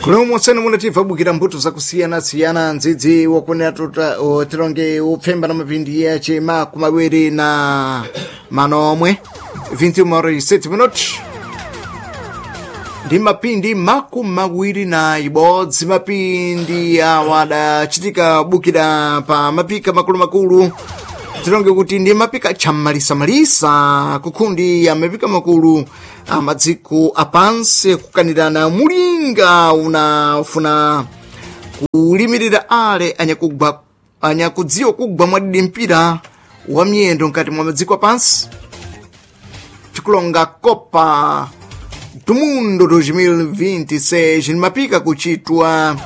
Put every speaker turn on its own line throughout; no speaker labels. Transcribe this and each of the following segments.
Kulomwe munativa bukira mbuto zakusiyana-siyana ndzidzi wakunena tilonge upfemba na mapindi yace makumawiri na manomwe 21 minutos ndi mapindi makumawiri na ibodzi mapindi awa adachitika bukira pa mapika makulumakulu tilonge kuti ndi mapika chamalisamalisa kukhundi ya mapika makulu amadziko apansi kukanirana mulinga unafuna kulimirira ale anyakugwa anyakudziwa kugwa mwadidi mpira wa miyendo mkati mwa madziko apansi tikulonga Copa do Mundo 2026 ni mapika kuchitwa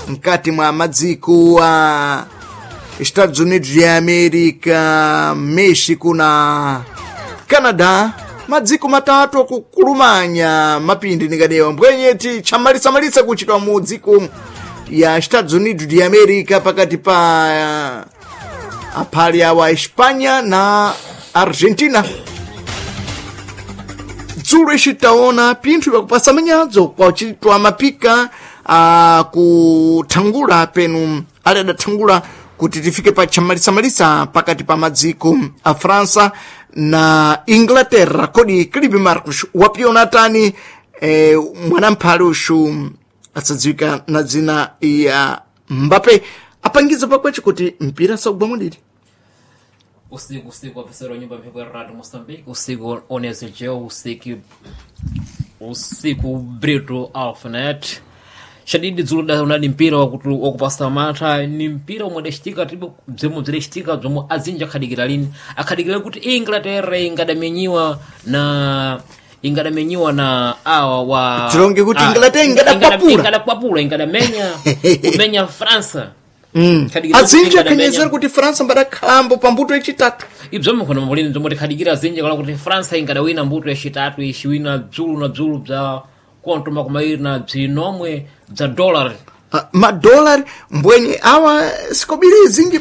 mkati mwa madziko a Estados Unidos ya América, México na Canadá madziko matatu akukulumanya mapindi nikadewa mbwenyeti chamalisamalisa kuchitwa mu dziko ya Estados Unidos de América pakati pa aphali awa Espanha na Argentina dzulo icitaona pinthu vyakupasa manyadzo kwacitwa mapika akuthangula penu ali adathangula kuti tifike pa chamalisamalisa pakati pa madziko a França na Inglaterra kodi Clive Marcos wapiona tani mwanamphale uxu asadziwika na dzina ya Mbappe apangiza pakweche kuti mpira saugwa mwadidi
Usiku usiku wapesero nyumba mphepo ya Radio Moçambique, usiku onesejeu, usiku usiku Brito Alphanet. Shadidi dzulo da unadi mpira wakutu wakupasa mantha ni mpira omwe adachitika tipo bzomwe bzidachitika bzomwe azinji akhadikira lini akhadikira kuti Inglaterra ingadamenyiwa na ingadamenyiwa na awa wa
Tilonge kuti Inglaterra ingadakwapula.
ingadakwapula ingadamenya kumenya França Khadikira kuti
azinji
ingadamenya.
akhenyezera kuti França mbadakhalambo pambuto yachitatu
ibzomwe khona mulini bzomwe tikhadikira zinji kala kuti França ingadawina mbuto yacitatu iciwina bzulu na bzulu bza konto makumairi na bzinomwe bza dollar
Madolari mbwenye awa sikobiri zinji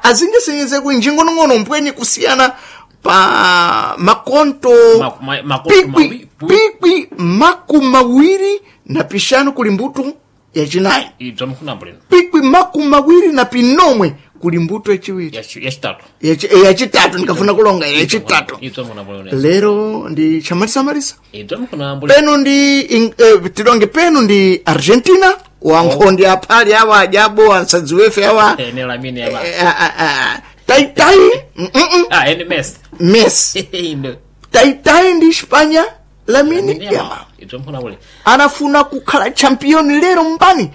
azinji senyeze kuinjingonong'ono mbwenye kusiyana pa makonto
Makonto
pikwi pikwi makumawiri na pixanu kuli mbuto yacinayi
ibzomwe khona mulini
pikwi makumawiri na pinomwe kuli mbuto yaciwiri
yacitatu
yacitatu ndikafuna kulonga yacitatu
ibzomwe khona mulini
lero ndi chamalisamalisa
ibzomwe khona mulini
penu ndi tilonge penu ndi Argentina wankhondi aphali awa ajabo ansadziwefe awa
ene lamine yaba
taitai
ah ene Messi
Messi
Ino.
taitai ndi Espanha Lamine
Lamine
Yamal
Yamal. Ibzomwe khona mulini
anafuna kukhala champion lero mbani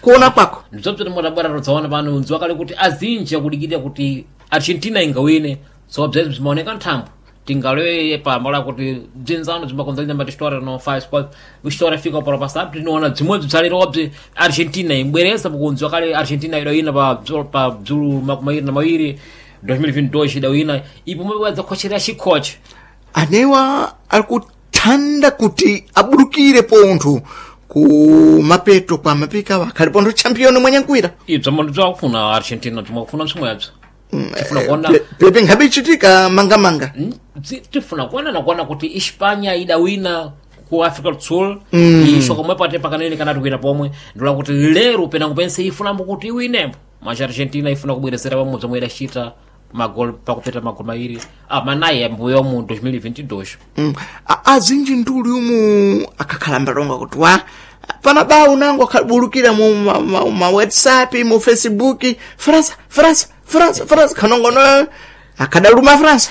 kuona kwako
ndibzomwe timodabwera todzaona pano ndziwa kale kuti azinji akudikirira kuti Argentina ingawine so bzezi bzimaoneka nthambo tingaloye pambala kuti bzinzano bzimbakonzalina mbati história não faz pode história fica para o passado tinoona bzimwe bzalero bzi Argentina imbwereza pakunziwa kale Argentina idawina pa pa bzulu makumairi na mawiri 2022 idawina ipo mwe khochera chikhoche
anewa ali kuthanda kuti abulukire pontho ku mapeto kwa mapika awa akhali pontho champion mwanyankwira
ibzo bzakufuna Argentina bzimwe bzimwebzo tifuna kuona
pepe nkhabe ichitika mangamanga
tifuna kuona nakuona kuti Hispania idawina ku Africa do Sul isho komwe pate pakanene kanati kuita pomwe ndula kuti lero penango pense ifunambo kuti iwinembo mas Argentina ifuna kubwerezera pamodzi omwe idachita magol pakupeta magol mairi manayi ambuyo mu 2022
Azinji nduli umu akakhala mbalonga kuti wa pana bawu nango akhabulukira mu ma WhatsApp mu Facebook França França França França khanongono akadaluma França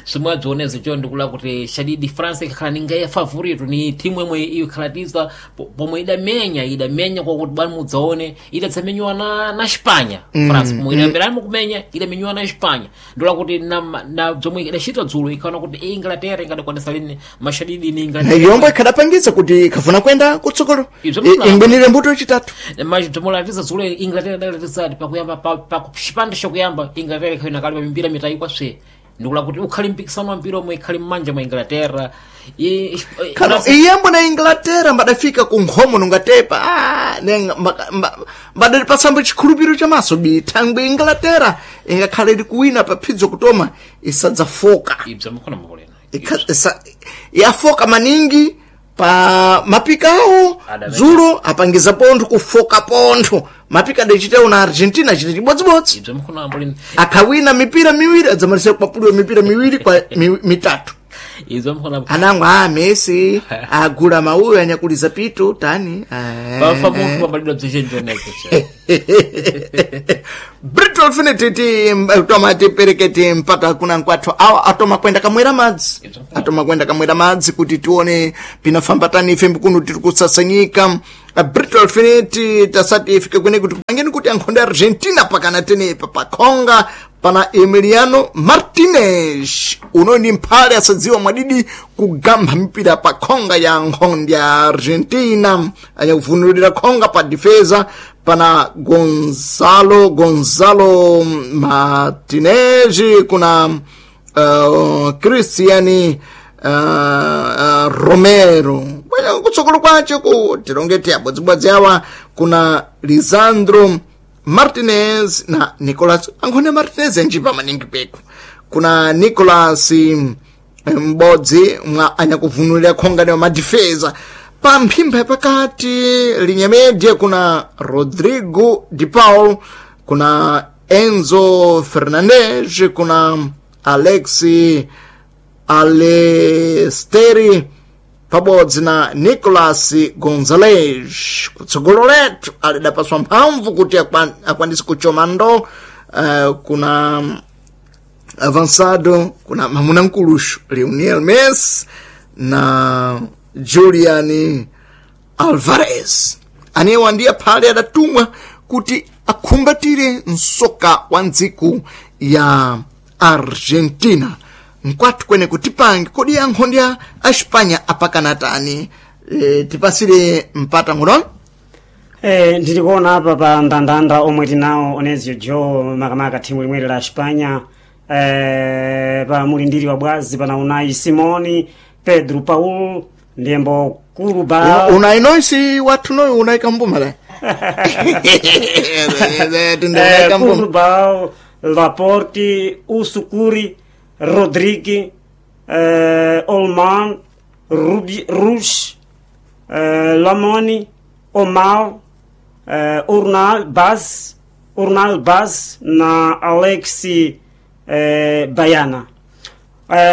somwe adzionezo cho ndikula kuti shadidi France ikakhala ninga ya favorito ni timu imwe ikhalatiza pomwe idamenya kwakuti bwani mudzaone idadzamenyiwa na Espanha France pomwe idamberani kumenya idamenyiwa na Espanha ndikula kuti na zomwe idachita dzulo ikaona kuti Inglaterra ingadakwanisa lini mashadidi ni
na
Inglaterra
yombo ikhadapangitsa kuti ikhafuna kwenda kutsogolo
Ibzo
ingwinire mbuto yachitatu
madzomolatiza dzulo Inglaterra idalatiza pakuyamba pa chipande chakuyamba Inglaterra ikhayina kale pamimbira mitayi kwaswe ndikula kuti ukhali mpikisano wa mpira omwe ikhali m'manja mwa Inglaterra
Kano iyambo na Inglaterra mbadafika ku nkhomo nungatepa mbadali pasambo chikhulupiriro chamaso bithangwe Inglaterra ingakhale ili kuwina pa phidzo kutoma isadzafoka
ibzo mkhona makolena
Yafoka maningi Pa mapika awo dzulo apangiza pontho kufoka pontho mapika adachitawo na Argentina achita chibodzibodzi.
Ibzo mkhonambo lini.
Akhawina mipira miwiri, adzamalisa kupapuliwa mipira miwiri kwa mitatu.
Ibzo mkhonambo.
Anangwa a Messi agula mauyo anyakuliza pitu tani.
Pafa munthu pambalidwa bzichenjoneko.
Brito Infinity ti toma tipereketi mpaka kuna nkwathu awa atoma kwenda kamwera madzi, atoma kwenda kamwera madzi kuti tione pinafamba tani ife mkuno tiri kusasanyika. Brito Infinity tasati ifike kwene kuti kupangeni kuti ankhonde Argentina pakana tenepa pakhonga pana Emiliano Martinez uno ni mphale asadziwa mwadidi kugamba mipira pa khonga ya nkhonde ya Argentina, anyakuvunulira khonga pa defesa pana Gonzalo Martinez, kuna Cristian Romero. Bwana kutsogolo kwace ku tilongeti abodzibodzi awa kuna Lisandro Martinez na Nicolas ankhone Martinez anjipa maningi peku, kuna Nicolas m'bodzi mwa anyakuvunulira khonga ne madifeza. Pa mphimba pakati linyamedye kuna Rodrigo Di Paul, kuna Enzo Fernandez, kuna Alexi Alesteri pabodzi na Nicolas Gonzalez. Kutsogolo letu alidapaswa mphamvu kuti akwanise kuchoma ndo kuna avançado kuna mamuna mkuluxu Lionel Messi na Julian Alvarez anewa ndiye phale adatumwa kuti akhumbatire msoka wa ndziku ya Argentina. Nkwathu kwene kutipange kodi ankhonde a Espanha apakana tani? Tipasire mpata nguno.
Ndili kuona apa pa ndandanda omwe tinawo Onezio Joe makamaka thimu limweri la Espanha, pa mulindiri wa bwazi pana Unai Simoni, Pedro Paul ndiyembo Kuruba.
Unai noisi wathu noyo Unai kambuma la.
Kurubal, Laporte, Usukuri, Rodrigue, Olman, Rubi, Rush, Lamoni, Omar, Urnal Baz na Alexi Bayana.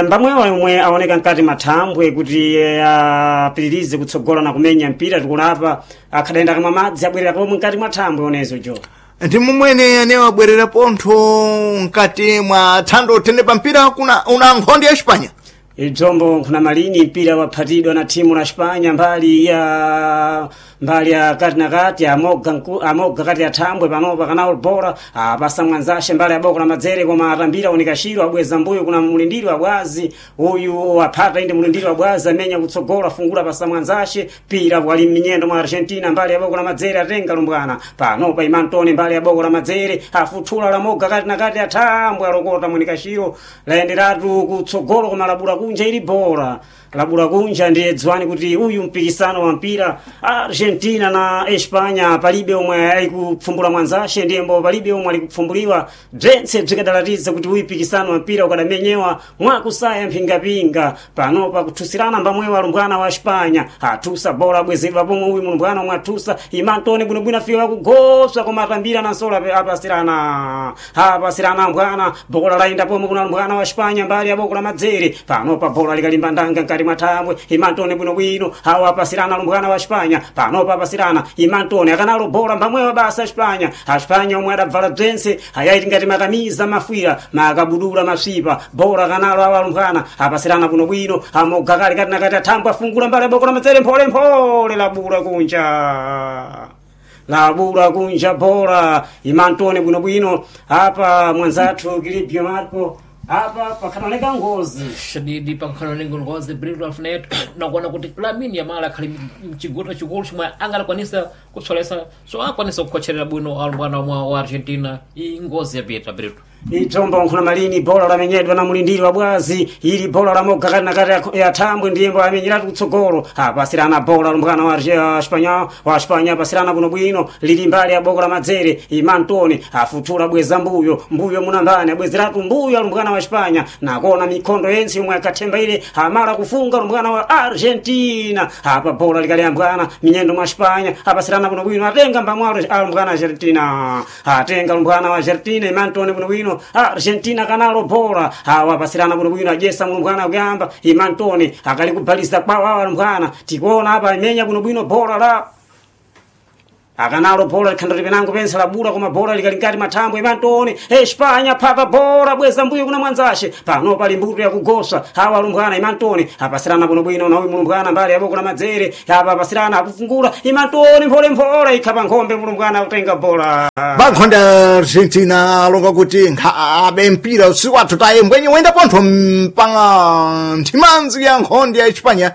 Mbamwewa omwe aoneka mkati mathambwe kuti apitirize kutsogola na kumenya mpira tikulapa akhadayenda kamwa madzi abwerera pomwe mkati mwa thambwe onezo jo.
Ndi mumwene anewo abwerera pontho mkati mwa thando tene pa mpira kuna una nkhonde ya Espanha.
Ibzombo nkhuna malini mpira waphatidwa na thimu la Espanha mbali ya kati na kati amoga kati ya thambwe panopa kana bora apasa mwanzashe mbali ya boko la madzere koma atambira unikashiro abweza mbuyo kuna mulindiri wa bwazi uyu aphata inde mulindiri wa bwazi amenya kutsogola afungula pasa mwanzashe pira wali mminyendo mwa Argentina mbali ya boko la madzere atenga lumbwana panopa imantone mbali ya boko la madzere afuthula la moga kati na kati ya thambwe alokota munikashiro layenderatu kutsogolo koma labula kunja ili bora labula kunja ndiye dziwani kuti uyu mpikisano wa mpira Argentina na Espanya palibe omwe alikupfumbula mwanzashe ndiyembo palibe omwe alikupfumbuliwa bzentse bzikadalatiza kuti uyu mpikisano wa mpira ukadamenyewa mwakusaya mphingapinga panopa kuthusirana mbamwewa alumbwana wa Espanya athusa bora abwezedwa pomwe uyu mulumbwana omwe athusa imantone bwinobwino afika pakugoswa koma atambira nansolo apasirana mbwana bokola layenda pomwe kuna lumbwana wa Espanya mbali ya boko la madzere panopa bola likalimba ndanga mkati mwa thambwe imantone bwinobwino awo apasirana lumbwana wa Espanya panopa apasirana imantone akanalo bola mbamwewa basa Espanya Espanya omwe adabvala bzense ayaiti ngati makamiza mafwira makabudula masvipa bola kanalo awo alumbwana apasirana bwinobwino amoga kali kati nakati athambwe afungula mbali ya boko la madzere mpholemphole labula kunja labula kunja bora imantone bwinobwino apa mwanzathu Kilipio Marco apa pakhanoneka ngozi
Shadidi pankhanoneka ngozi Brito Alfred nakuona kuti Lamine Yamal akhali mchigulu chikulu chomwe angalakwanisa kutsolesa so akwanisa kukhocherera bwino alumbwana mwa wa Argentina iyi ngozi yapita Brito.
Itombo nkhuna malini bola lamenyedwa na mulindiri wa bwazi ili bola la moga kati na kati ya thambwe ndiyembo amenyeratu kutsogolo apasirana bola lumbwana wa Espanya wa Espanya apasirana bwinobwino lili mbali ya boko la madzere imantoni afuthula bweza mbuyo mbuyo munambani abwezeratu mbuyo alumbwana wa Espanya nakona mikhondo yense yomwe akathemba ile amala kufunga lumbwana wa Argentina apa bola likaliyambwana minyendo mwa Espanya apasirana bwinobwino atenga mbamwalo alumbwana Argentina atenga lumbwana wa Argentina imantoni bwinobwino Argentina kanalo bora awa pasirana bwinobwino ajesa mulumbwana kuyamba imantoni akali kubhalisa kwawo awa lumbwana tikuona apa imenya bwinobwino bora la akanalo bola likhanda lipenango pense labula koma bola likali nkati mathambwe imantoni Espanya phata bola bweza mbuyo kuna mwanzashe pano pali mbuto yakugosa awa alumbwana imantoni apasirana bwinobwino na uyu mulumbwana mbali yaboko na madzere apa apasirana akufungula imantoni mpholemphole ikha pa nkhombe mulumbwana akutenga bola
Bankhonde Argentina alonga kuti nkhabe mpira usiku wathu taye mbwenye wenda pontho mpanga nthimanzi ya nkhonde ya Espanya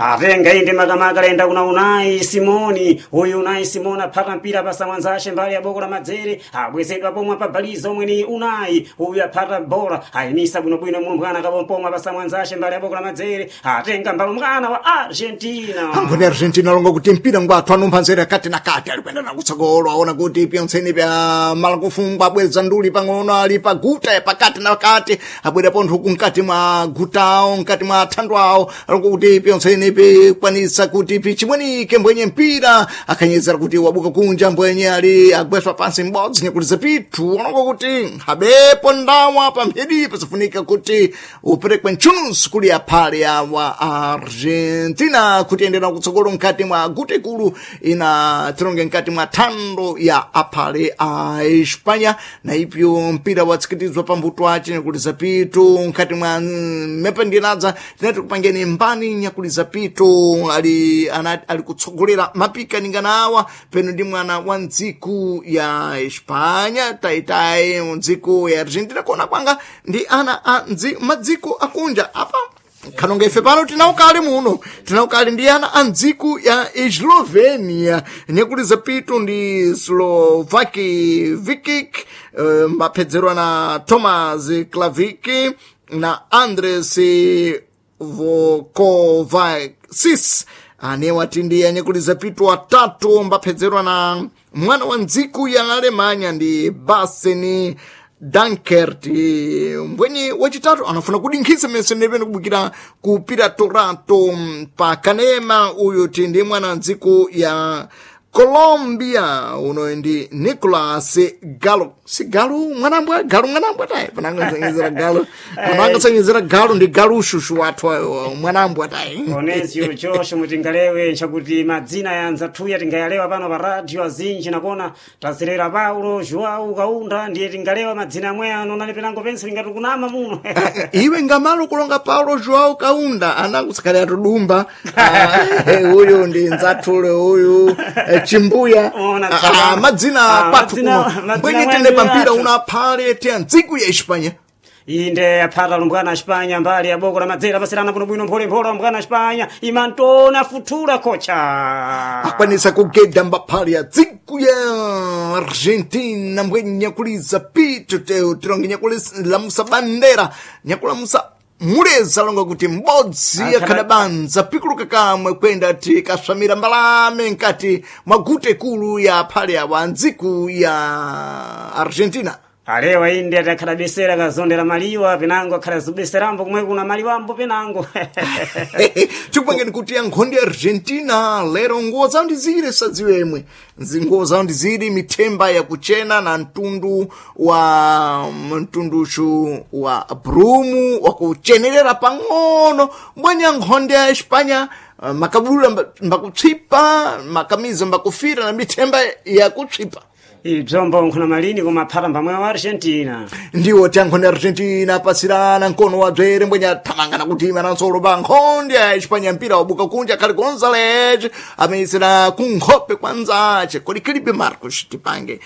atenga inde makamaka lenda kuna Unai Simoni uyu Unai Simoni aphata mpira pasa mwanzashe mbali ya boko la madzere abwezedwa pomwe apabaliza omwe ni Unai uyu aphata bola ayimisa bwinobwino mulumbwana kapompomwe pasa mwanzashe mbali ya boko la madzere atenga mbalumbwana wa Argentina
Ankhonde Argentina alonga kuti mpira ngwathu anumpha nzere kati na kati ali kuyenda nakutsogolo aona kuti pyontseni pya malakufungwa abweza nduli pang'ono ali pa guta ya pakati na kati abwera pontho uku mkati mwa gutawo mkati mwa thandu awo alonga kuti pyontseni pikwanisa kuti pichimwenike mbwenye mpira akhanyezera kuti wabuka kunja mbwenye ali agweswa pansi m'bodzi nyakuliza pithu alonga kuti nkhabepo ndawa pamphedi pasafunika kuti uperekwe ntchununso kuli aphale awa Argentina kuti endera kutsogolo mkati mwa guta ikulu ina tironge mkati mwa thando ya aphale a Espanya na ipyo mpira watsikitizwa pambuto ace nyakuliza pitu mkati mwa mependinadza tinati kupangeni mbani nyakuliza pitu ali, ana, ali kutsogolera mapika awa peno ndi mwana wa ndziku ya Espanya taitayi ndziku ya Argentina kuona kwanga ndi ana a madziko akunja apa khanonga ife pano tinaukali muno tinaukali ndi ana a ndziku ya Eslovenia nyakuliza pitu ndi Slovaki Vikic mapedzerwa na Thomas Klaviki na Andres Vokovacis anewa ndi anyakuliza pitu atatu mbapedzerwa na mwana wa ndziku ya Alemanya ndi Baseni Dankert mbwenye wachitatu anafuna kudinkhisa mese ndipene kubukira kupira torato pa kanema uyu ti ndi mwana wa ndziku ya Colombia uno ndi Nicolas Galo si Galo mwanambwa Galo mwanambwa tayi panangasanyizira Galo panangasanyizira Galo ndi Galo ushushu wathu ayo mwanambwa tayi
Onesio Josh mutingalewe nchakuti madzina ya anzathuya tingayalewa pano pa radio azinji nakona tazilera Paulo Joao Kaunda ndiye tingalewa madzina amwe ano nali penango pense lingati kunama muno
iwe ngamalo kulonga Paulo Joao Kaunda anangutsakale atudumba uyu ndi nzathule uyu chimbuya
Ona, tsaka.
madzina
Ah,
kwathu
madzina-
kuno
madzina
mbwenye
mwendu
tende pampira
yathu.
una phale te ndziku ya Espanya
inde aphata lumbwana Espanya mbali ya boko la madzera pasirana bwinobwino mpholemphole lumbwana Espanya imantona futhula kocha
akwanisa kugeda mbaphale ya dziku ya Argentina mbwenye nyakuliza pitu teo tironge nyakulamusa bandera nyakulamusa muleza longa kuti m'bodzi
Akhada-
akhadabanza pikuluka kamwe kwenda ti kaswamira mbalame nkati mwa guta ikulu ya phale awa ndziku ya Argentina
alewa inde ati akhalabesera kazondera maliwa penango akhala zubeserambo kumwe kuna maliwambo penango
tikupangeni kuti ya nkhondo ya Argentina lero nguwo zawo ndizire sadziwemwe nguwo zawo ndiziri mithemba yakuchena na mtundu wa mtunduchu wa brumu wakuchenerera pang'ono mbwenya nkhondo ya Espanya makabudula mbakutswipa makamiza mbakufira na mithemba yakutswipa
ibzombo nkhuna malini koma aphata mbamwe wa Argentina
ndiwo ti ankhonde Argentina apasirana mkono wa dzwere mbwenye athamangana kutima na nsolo pa nkhonde ya Espanya mpira wabuka kunja khali Gonzalez ameyisira kunkhope kwa nzace kodi Felipe Marcos tipange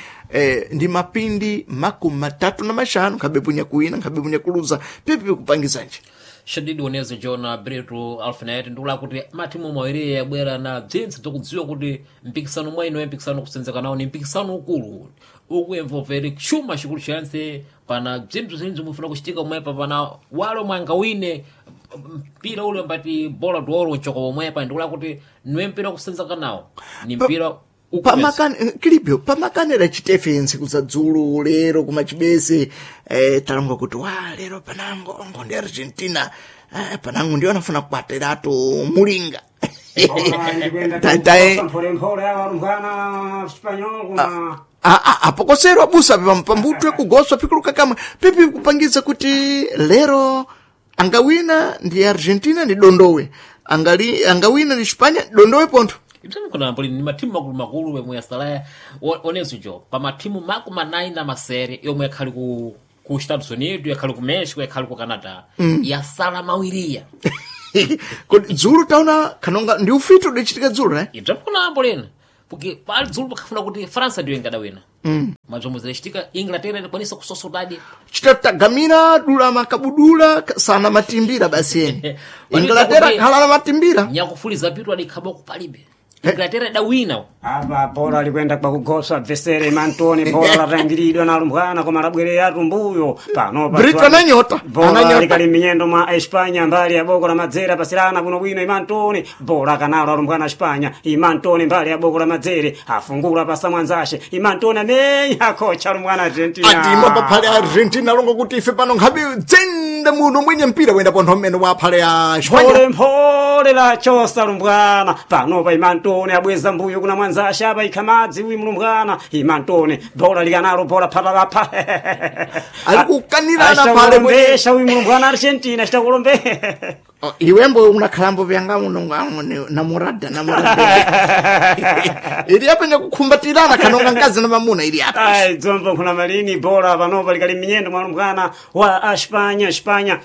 ndi mapindi 35 nkhabe punya kuwina nkhabe punya kuluza pipi kupangizanje
Shadidi onezo Jona Brito Alfinet ndikula kuti matimu mawiri yabwera na bzintsi bzakudziwa kuti mpikisano mwa ino mpikisano kusenzeka nawo ni mpikisano ukulu ukuemvovere chuma chikulu chantse pa Pana bzinthu zinthu mufuna kuchitika omwepa, pana wale omwe angawine mpira ule mbati bola d'oro nchoko omwepa, ndikula kuti niwe mpira wakusenzeka nawo ni mpira ukupeza.
Kilibyo pamakanera chitefe ntsiku za dzulo lero kumachibese, talonga kuti wa lero panango ngo ndi Argentina, panango ndiyo anafuna kupatiratu mulinga.
Mpholemphole awa alumbwana Espanyol kuma
Apokoserwa busa pambutwe kugoswa pikuluka kamwe pipi kupangiza kuti lero angawina ndi Argentina ndi dondowe, angawina ndi Spanya dondowe pontho.
Ibzamukona ni mathimu makulu makulu yomwe yasalaya onenso jo pa mathimu 40 na masere yomwe yakhali ku Estados Unidos, yakhali ku Mexico, yakhali ku Canada, yasala mawiriya.
Kodi dzulo taona kanonga ndi ufiti udachitika dzulo ne?
Ibzamukona lena porque pali dzulo pakafuna kuti França ndiyo ingadawina, mazomwe zidachitika Inglaterra inakwanisa kusosotadi.
Chitatagamira dula makabudula sana matimbira basi eni Inglaterra khala na matimbira.
Nyakufuliza pitu adikhaba kupalibe Inglaterra idawina.
Apa bola likwenda kwakugosa bvesere Mantoni, bola latangiridwa na alumbwana koma labwerera tumbuyo panopa.
Brito ananyota,
Bola
ananyota.
likali minyendo mwa Espanya mbali ya boko la madzere, pasirana bwinobwino Imantoni, bola kanalo alumbwana Espanya. Imantoni mbali ya boko la madzere afungula pasa mwanzashe Imantoni amenya kocha alumbwana Argentina.
Atima paphale Argentina longo kuti ife pano nkhabe dzenda muno mwenye mpira wenda pontho mmene wa phale ya Espanya.
Mphole mphole la chosa lumbwana panopa Imantoni abweza mbuyo kuna mwanzashe apa ikhamadzi uyu mlumbwana Imantoni bola likanalo bola phatalapha.
Ali kukanirana phale mwenye.
Achitakulombesha uyu mlumbwana Argentina achitakulombe.
Oh, iwembo unakhalambo vyanga uno namurada namurada ili apa nyakukhumbatirana kanonga mkazi na mamuna ili apa.
Ai dzombo kuna malini bola panopa likali minyendo mwa mlumbwana wa Espanya Espanya,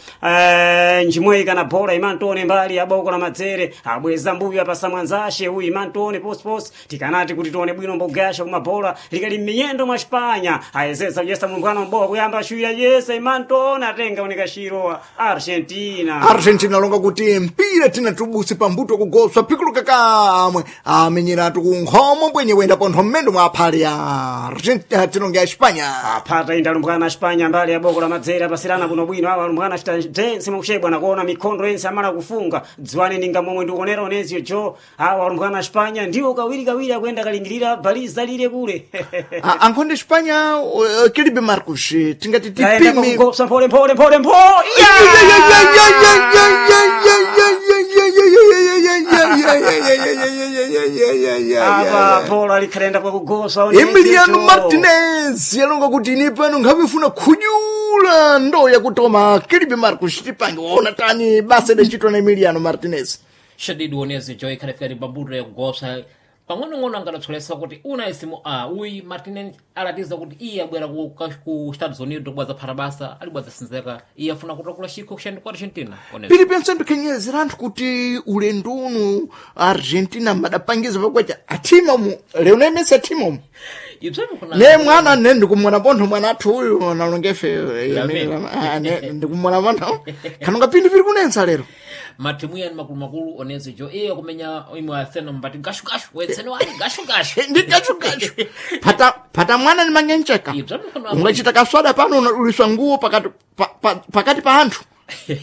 njimweyi kana bola Imantoni mbali ya boko la madzere abweza mbuyo apasa mwanzashe uyu Imantoni posiposi tikanati kuti tione bwino mbogasha kuma bola likali minyendo mwa Espanya ayezesa kuyesa mlumbwana mbowa kuyamba ashuya yesa Imantoni atenga unikashiro wa Argentina.
Argentina longa kuti mpira tina tubuse pambuto kugoswa pikuluka kamwe amenyeratu kunkhomo bwenye wenda pontho mmene mwa aphale ya Argentina tinonga ya Espanya.
Aphata inda alumbwana Espanya mbali ya boko la madzere apasirana kuno bwino awa alumbwana achita dense mwakuchebwa nakuona mikhondo yense amala kufunga dziwani ninga momwe ndikuonera oneziyo jo awa alumbwana Espanya ndiwo kawiri kawiri akuyenda kalingirira baliza lile kule.
Ankhonde Espanya, Kilibe Marcos, tingati
Tayenda
tipime
kugosa mphole mphole mphole mpho apa bola likhalenda kwakugosa oneziyo
Emiliano
jo.
Martinez yalonga kuti ine pano nkhavifuna khunyula ndo yakutoma. Kilibe Marcos, tipange waona tani basa idachitwa na Emiliano Martinez?
Shadidi onezi jo ikhalifika pambuto yakugosa pang'onong'ono angadatsolesa kuti una isimu a uyi Martinez alatiza kuti iye abwera ku Estados Unidos kubwaza phata basa alibwaza sinzeka iye afuna kutakula chikho kushandi ku Argentina onezi.
Pili pense ndikhenyezera anthu kuti ulendo uno Argentina madapangiza pakwacha athima mu Lionel Messi athima umu.
Ibzomwe kuna
Ne mwana ne ndikumwona pontho mwana athu uyu nalongefe
Lamine.
ndikumwona pontho kanonga pindi pili kunensa lero.
Mathimu yani makulumakulu onezi jo iye kumenya imwe asena mbati gashugashu wetseni wani gashugashu.
Ndi gashugashu pata mwana ni manyencheka.
Ibzomwe kuna
Ungachita kaswada pano unaduliswa nguo pakati pakati pa anthu.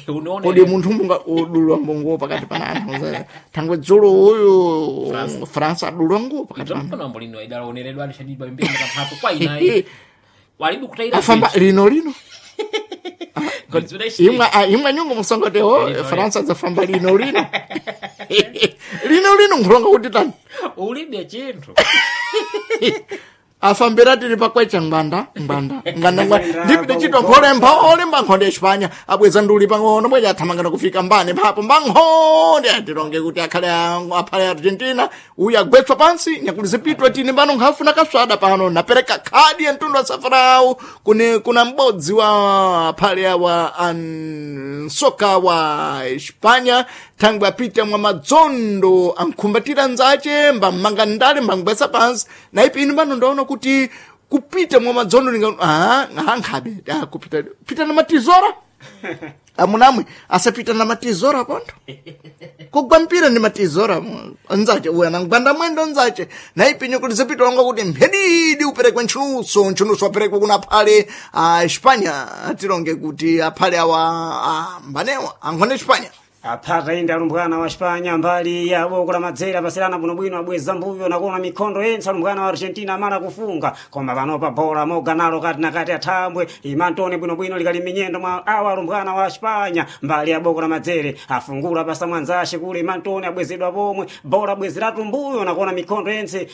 Unaona
Kodi munthu munga udulwa nguo pakati pa anthu thangwe dzulo uyu Fransa adulwa nguo pakati pa anthu.
Ibzomwe kuna lino idalaoneredwa ali shadidi pambiri katatu kwa inayi walibu kutaira
Afamba lino lino.
Zidaichitika.
Imwe imwe nyungu musongotewo.
Lino,
Faransa zafamba lino lino lino lino nkhulonga kuti tani.
Ulibe chinthu.
Afambira tili pakwecha ngwanda ngwanda ngwanda ngwanda ndipite chitwa mphole mphole mbankhonde Espanya abweza nduli pang'ono bweja athamangana kufika mbane mphapo mbankhonde atilonge kuti akhale aphale Argentina uyu agwetswa pansi nyakulizipitwa tine pano nkhafuna kaswada pano napereka khadi ya mtundu wa safarawu kune kuna m'bodzi wa aphale awa ansoka wa Espanya thangwe apita mwa madzondo ankhumbatira nzache mbamanga ndale mbangwesa pansi naipi inu pano ndaona kuti kupita mwa madzondo ninga ah nkhabe ah kupita pita na matizora. Amunamwe asapita na matizora pontho. Kugwa mpira ndi matizora nzache uya nangwanda mwendo nzache naipinyo kuti zipita longa kuti mphedidi uperekwe ntchunuso ntchunuso aperekwe kuna aphale a Espanya atilonge kuti aphale awa a mbanewa ankhone Espanya.
Aphata inde alumbwana wa Espanya mbali ya boko la madzera pasirana bwinobwino abweza mbuyo nakuona mikhondo yense alumbwana wa Argentina amala kufunga koma panopa bola moga nalo kati na kati athambwe imantone bwinobwino likali minyendo mwa awa alumbwana wa Espanya mbali ya boko la madzere afungula pasa mwanzashe kule imantone abwezedwa pomwe bola abwezeratu mbuyo nakuona mikhondo yense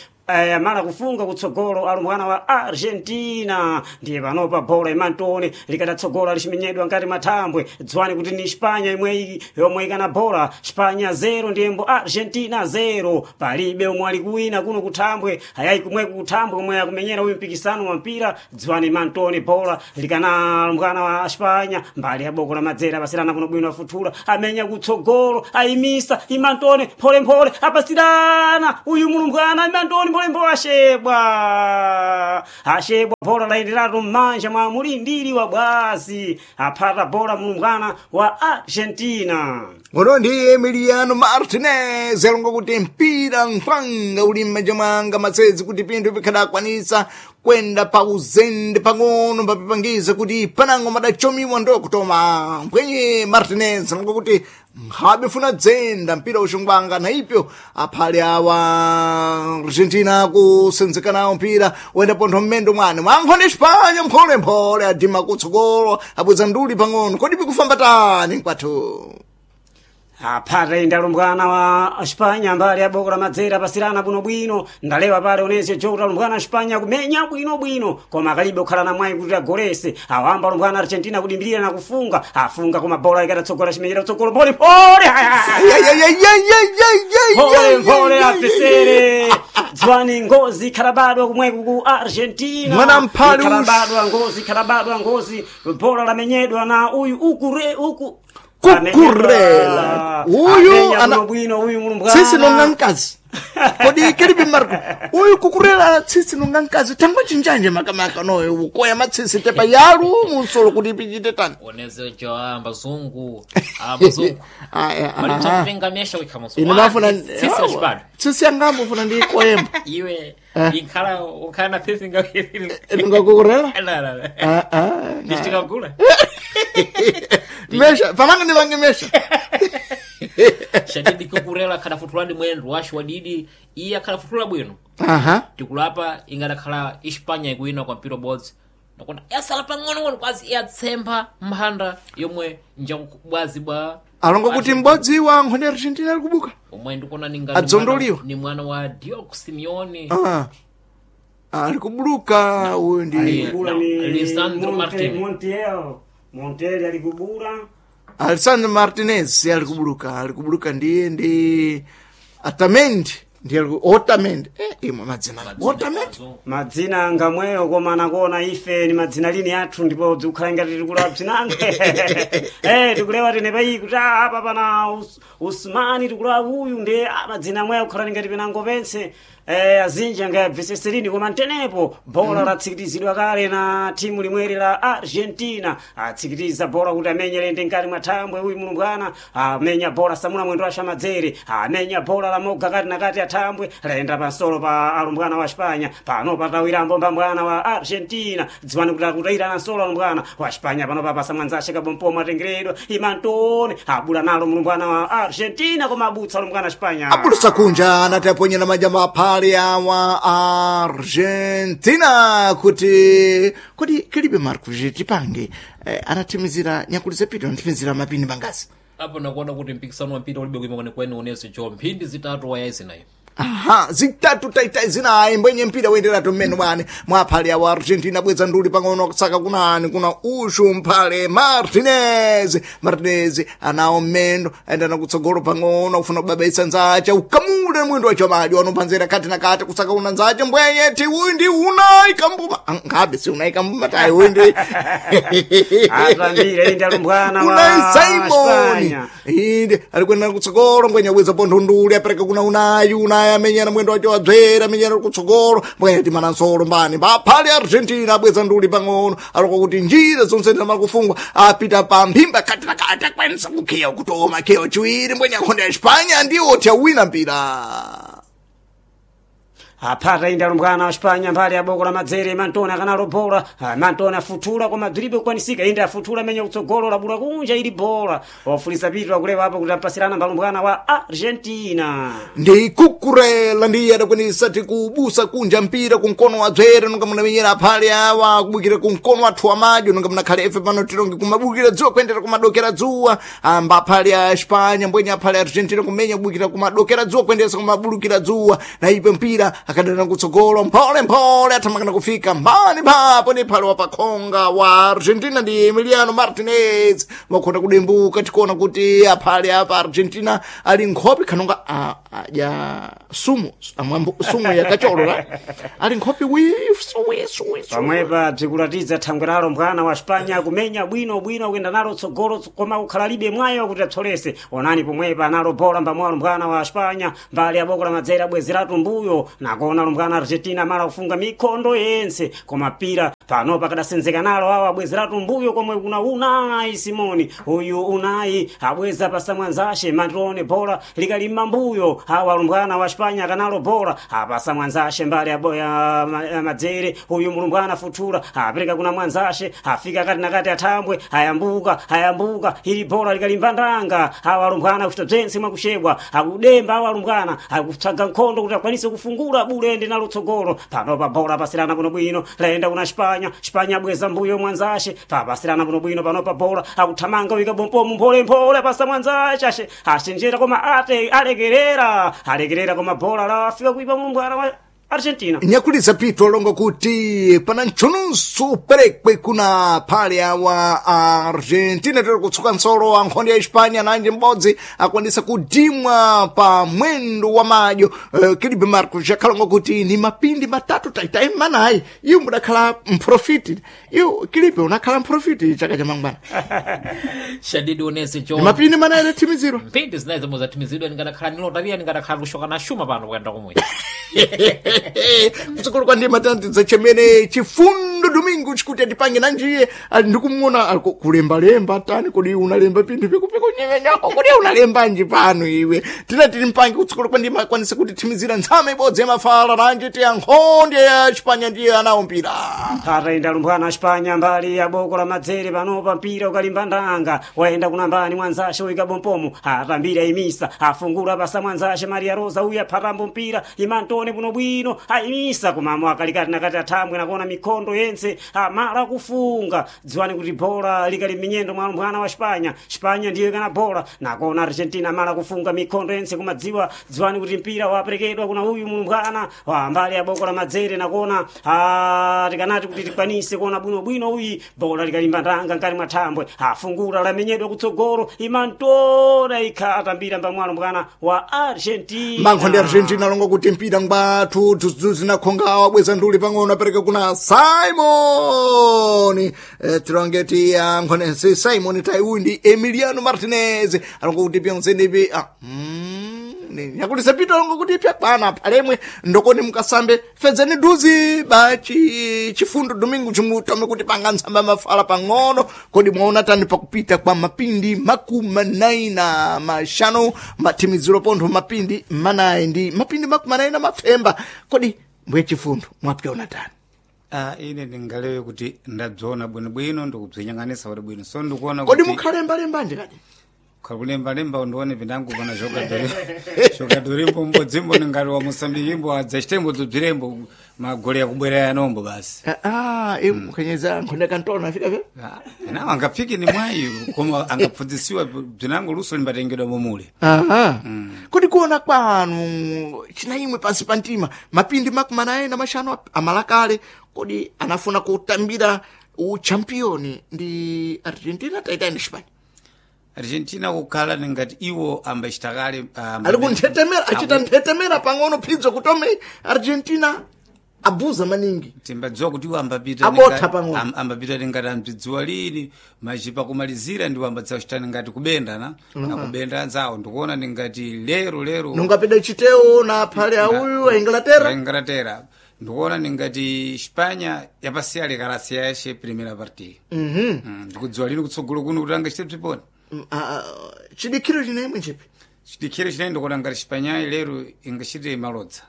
amala kufunga kutsogolo alumbwana wa Argentina ndiye panopa bola imantone likadatsogola lichimenyedwa ngati mathambwe dziwani kuti ni Espanya imwe yomwe ikana bola Espanya 0 ndiyembo Argentina 0 palibe omwe ali kuwina kuno kuthambwe ayayi kumweko kuthambwe omwe akumenyera uyu mpikisano wa mpira dziwani mantone bola likana alumbwana wa Espanya mbali ya boko la madzera apasirana kuno bwino afuthula amenya kutsogolo ayimisa imantone mpholemphole apasirana uyu mulumbwana imantone mpholemphole ashebwa ashebwa bola layenderatu m'manja mwa mulindiri wa bwazi aphata bola mulumbwana wa Argentina.
Ngono ndi Emiliano Martinez alonga kuti mpira nkhwanga uli m'manja mwanga matsezi kuti pinthu pikhadakwanisa kwenda pa uzende pang'ono mbapipangiza kuti panango madachomiwa ndokutoma mbwenye Martinez alonga kuti nkhabe funa dzenda mpira uxungwanga na ipyo aphale awa Argentina kusenzeka nawo mpira wenda pontho mmendo mwane mwankhone Espanya mpholemphole adima kutsogolo abweza nduli pang'ono kodi pikufamba tani mkwathu.
Aphata inde alumbwana wa Espanya mbali ya boko la madzera pasirana bwinobwino ndalewa pale onese jota alumbwana Espanya kumenya bwinobwino koma akalibe kukhala na mwayi kuti agolese awamba alumbwana Argentina kudimbirira na kufunga afunga koma bola ikatatsogola chimenyera kutsogolo pole pole pole pole afesere dziwani ngozi ikhalabadwa kumweku ku Argentina.
Mwana mphali
ikhalabadwa ngozi ikhalabadwa ngozi bola lamenyedwa na uyu ukure uku
Kukurela. Uyu ana-
bwino uyu mulumbwana
tsitsi nonga mkazi kodi kilipi Marco uyu kukurela tsitsi nonga mkazi tangwa chinjanje makamaka noyo ukoya matsitsi tepa yalu munsolo kuti pichite tani.
Oneze jo ambazungu ambazungu
Aya, aha.
malichakutenga mesha wikhamuso
Ine mafuna
tsitsi lachibadwa
tsitsi yangambo funa ndiyikoyemba
iwe inkhala ukhala na tsitsi nga
ndingakukurela
la la la
Ah, ah,
ndichitikagula
mesha pananga ndivange mesha.
Shadidi kukurela akhadafutuladi mwendo washu wadidi iye akhadafutula bwino.
Aha.
Tikulapa ingadakhala Espanya ikuwina kwa mpira ubodzi nakona yasala pang'onong'ono kwazi iyatsempha mphanda yomwe njakubwazi bwa
Alonga kuti m'bodzi wa nkhoni Argentina ali kubuka.
omwe ndikuona ninga
Adzondoliwa.
ni mwana wa Diego Simeone.
Ah. Ali kubuluka uyu ndi
Alikubula ni
Lisandro Martinez.
Montiel Montiel alikubula
Alessandro Martinez alikubuluka alikubuluka ndiye ndi Otamendi ndiye Otamendi imwe madzina Otamendi.
Madzina ngamweyo koma nakuona ife ni madzina lini athu ndipo bzikukhala ngati tikulawa bzinange tikulewa tene payi kuti ah, apa pana Usmani tikulawa uyu ndi madzina amweyo akukhala ngati penango pense azinji angayabveseserini koma ntenepo bola latsikitizidwa kale na timu limweri la Argentina atsikitiza bola kuti amenye lende nkati mwa thambwe uyu mulumbwana amenya bola samuna mwendo wa Shamadzere amenya bola la moga kati na kati athambwe layenda pansolo pa alumbwana wa Espanya pano patawirambo mbambwana wa Argentina dziwani kuti akutayira na nsolo alumbwana wa Espanya pano papasa mwanzashe kabompomo atengeredwa imantone abula nalo mulumbwana wa Argentina koma abutsa alumbwana wa Espanya
Abulusa kunja anati aponyera majamba aphale awa Argentina kuti kodi kilibe Marco tipange anathimizira nyakuli zapita anathimizira mapini mangazi.
Apo nakuona kuti mpikisano wa mpira ulibe kuima kwenikweni onese jo mphindi zitatu wayazinayi.
Aha, zitatu taitai zinayi mbwenye mpira wenderatu mmene mwane mwaphale awo Argentina bweza nduli pang'ono kusaka kunani kuna ushu mphale Martinez Martinez anawo mmendo ayendana kutsogolo pang'ono akufuna kubabaisa nzache ukamule mwendo wacho madi wanophanzera kati na kati kusaka una nzache mbwenye ti uyu ndi unayi kambuma ngabe si unayi kambuma tayi uyu ndi
Atambire inde alumbwana wa
Unai Simon
Espanya.
inde alikwenda kutsogolo ngwenya bweza pontho nduli apereka kuna unayi unayi. naye amenyana mwendo wacho wadzera amenyana kutsogolo mbwene timana nsolo mbani mbaphale Argentina abweza nduli pang'ono aloko kuti njira zonse zimakufungwa apita pa mphimba kati na kati akwanisa kukhiya kutoma khiya chiwiri mbwenye akhonde ya Espanya ndiwo tiawina mpira.
Aphata inde alumbwana wa Spanya mbali ya boko la madzere Mantona kanalo bola. Mantona afuthula koma bzilibe kukwanisika inde afuthula amenya kutsogolo labula kunja ili bola ofulisa pitu akulewa apo kuti ampasirana mbalumbwana wa Argentina.
Ndi kukurela ndiye adakwanisa tikubusa kunja mpira kumkono wa dzere nonga munamenyera aphale awa kubukira kumkono wathu wa madyo nonga munakhale efe pano tilonge kumabukira dzuwa kuyendera kumadokera dzuwa amba aphale a Espanya mbwenye aphale a Argentina kumenya kubukira kumadokera dzuwa kuyenderesa kumabulukira dzuwa na ipe mpira akadana kutsogolo mphole mphole athamakana kufika mbani mphapo ndi phale wapakhonga wa Argentina ndi Emiliano Martinez wakhona kudimbuka tikuona kuti aphale apa Argentina ali nkhope khanonga adya sumu amwambo sumu yakacholo la ali nkhope wisu wisu wisu.
Pamwepa bzikulatidza thangwe lalo mbwana wa Spanya kumenya bwino bwino kuyenda nalo tsogolo koma kukhala libe mwayo kuti apsolese. Onani pomwepa analo bola mbamwalo mbwana wa Spanya mbali ya boko la madzere abwezeratu mbuyo nakona lumbwana Argentina mala kufunga mikhondo yense koma pira pano pakadasenzeka nalo awo abwezeratu mbuyo komwe kuna Unai Simoni uyu Unai abweza pasamwanzashe Mantone bola likalimba mbuyo awa alumbwana wa Spanya kanalo bola apasa mwanzashe mbali ya madzere uyu mulumbwana futhula apereka kuna mwanzashe afika kati na kati athambwe ayambuka ayambuka ili bola likalimba ndanga awa alumbwana kuchita bzense mwakushebwa akudemba awa alumbwana akutsaga nkhondo kuti akwanise kufungula bulende nalo tsogolo pano pa bola pasirana bwinobwino layenda kuna Spanya Spanya abweza mbuyo mwanzashe papasirana bwinobwino pano pa bola akuthamanga wika bompomu mpholemphole pasa mwanzashe ashe achenjera koma ate alekerera alekerera koma bola lafika kuipa mulumbwana wa Argentina.
Nyakulisa pito longo kuti pana ntchununso perekwe kuna phale awa Argentina tiri kutsuka nsolo wa nkhondo ya Hispania nanji m'bodzi akwanisa kudimwa pa mwendo wa madyo. Kilibe Marcos yakhalongo kuti ni mapindi matatu taitai manayi iwo mudakhala mprofiti iwo Kilibe unakhala mprofiti chaka cha mangwana.
Shadidi onese
ni mapindi manayi adathimizirwa
mpindi zinayi zomwe zathimizidwa ningadakhala nilotaria ningadakhala kushoka na shuma pano kuyenda kumwe.
Kutsogolo kwa ndima tanatidza chemene chifundo Domingo chikuti atipange nanjiye ali ndikumuona ali kulembalemba tani kodi unalemba pinthu pikupiko nyenyako kodi unalembanji pano iwe tina tili mpange kutsogolo kwa ndima akwanise kuti thimizira ntsame ibodzi yamafala nanji tiya nkhondo ya Chipanya ndiye anawo mpira.
Ataenda lumbwana wa Spanya mbali ya boko la madzere panopa mpira ukalimba ndanga wayenda kuna mbani mwanzashe uika bompomu atambira imisa afungula pasa mwanzashe Maria Rosa uya phatambo mpira imantone buno bwino ayimisa kumamo akalikati nakati athambwe nakuona mikhondo yense amala kufunga dziwani kuti bola likali minyendo mwa lumbwana wa Spanya Spanya ndiyo ikana bola nakuona Argentina amala kufunga mikhondo yense kumadziwa dziwani kuti mpira waperekedwa kuna uyu mulumbwana wa mbali ya boko la madzere nakuona tikanati kuti tikwanise kuona bwinobwino uyi bola likalimba ndanga nkati mwa thambwe afungula lamenyedwa kutsogolo imantora ikha atambira mbamwalo mbwana wa Argentina.
Mankho ndi Argentina alongo kuti mpira ngwathu dzudzu nakhonga wabweza nduli pang'ono apereka kuna Simon tilongeti ankhone si Simon taiuyu ndi Emiliano Martinez alongo kuti pyonse ndipi nyakulisa pito alongo kuti pyakwana phalemwe ndokoni mukasambe fedzani duzi bachi chifundo Domingo chimutome kuti panga ntsamba mafala pang'ono kodi mwaona tani pakupita kwa mapindi 45 mathimiziro pontho mapindi 4 ndi mapindi 40 na mapfemba kodi mbwe chifundo mwapyaona tani?
Ine ndingalewe kuti ndabzona bwinobwino ndikubzinyang'anisa kuti bwino so ndikuona
kodi
kuti
mukhalembalemba kadi
kulembalemba ndione pindangu pana jogadori mbodzimbo ningati wa Mosambiki adzachitembo dzodzirembo magole akubwera yanombo basi.
Mukanyeza nkhonde kantona afika pe
Nawo angafike ni mwayi koma angapfundzisiwa bzinango luso limbatengedwa momule.
Aha. Kodi kuona kwanu china imwe pansi pa mtima mapindi 45 amalakale kodi anafuna kutambira uchampioni ndi Argentina taitani Spain?
Argentina kukhala ningati iwo ambachitakale
Ali kunthetemera achita nthetemera pang'ono phidzo kutome Argentina. Abuza maningi.
Timbadziwa kuti iwo ambapita
Abotha pang'ono.
Ambapita ngati ambidziwa lini machipa kumalizira ndiwo ambadzachitani ngati kubenda na nakubenda anzawo ndikuona ningati lero lero
Nungapeda chiteo na phale auyu a Inglaterra.
Inglaterra ndikuona ningati Espanya yapasiya lekalasi yashe primera partida. Ndikudziwa lini kutsogolo kuno kuti angachite bziponi.
Chidikhiro chinemwe chipi.
Chidikhiro chinayi ndikuona ngati Espanyayi lero ingachite malodza.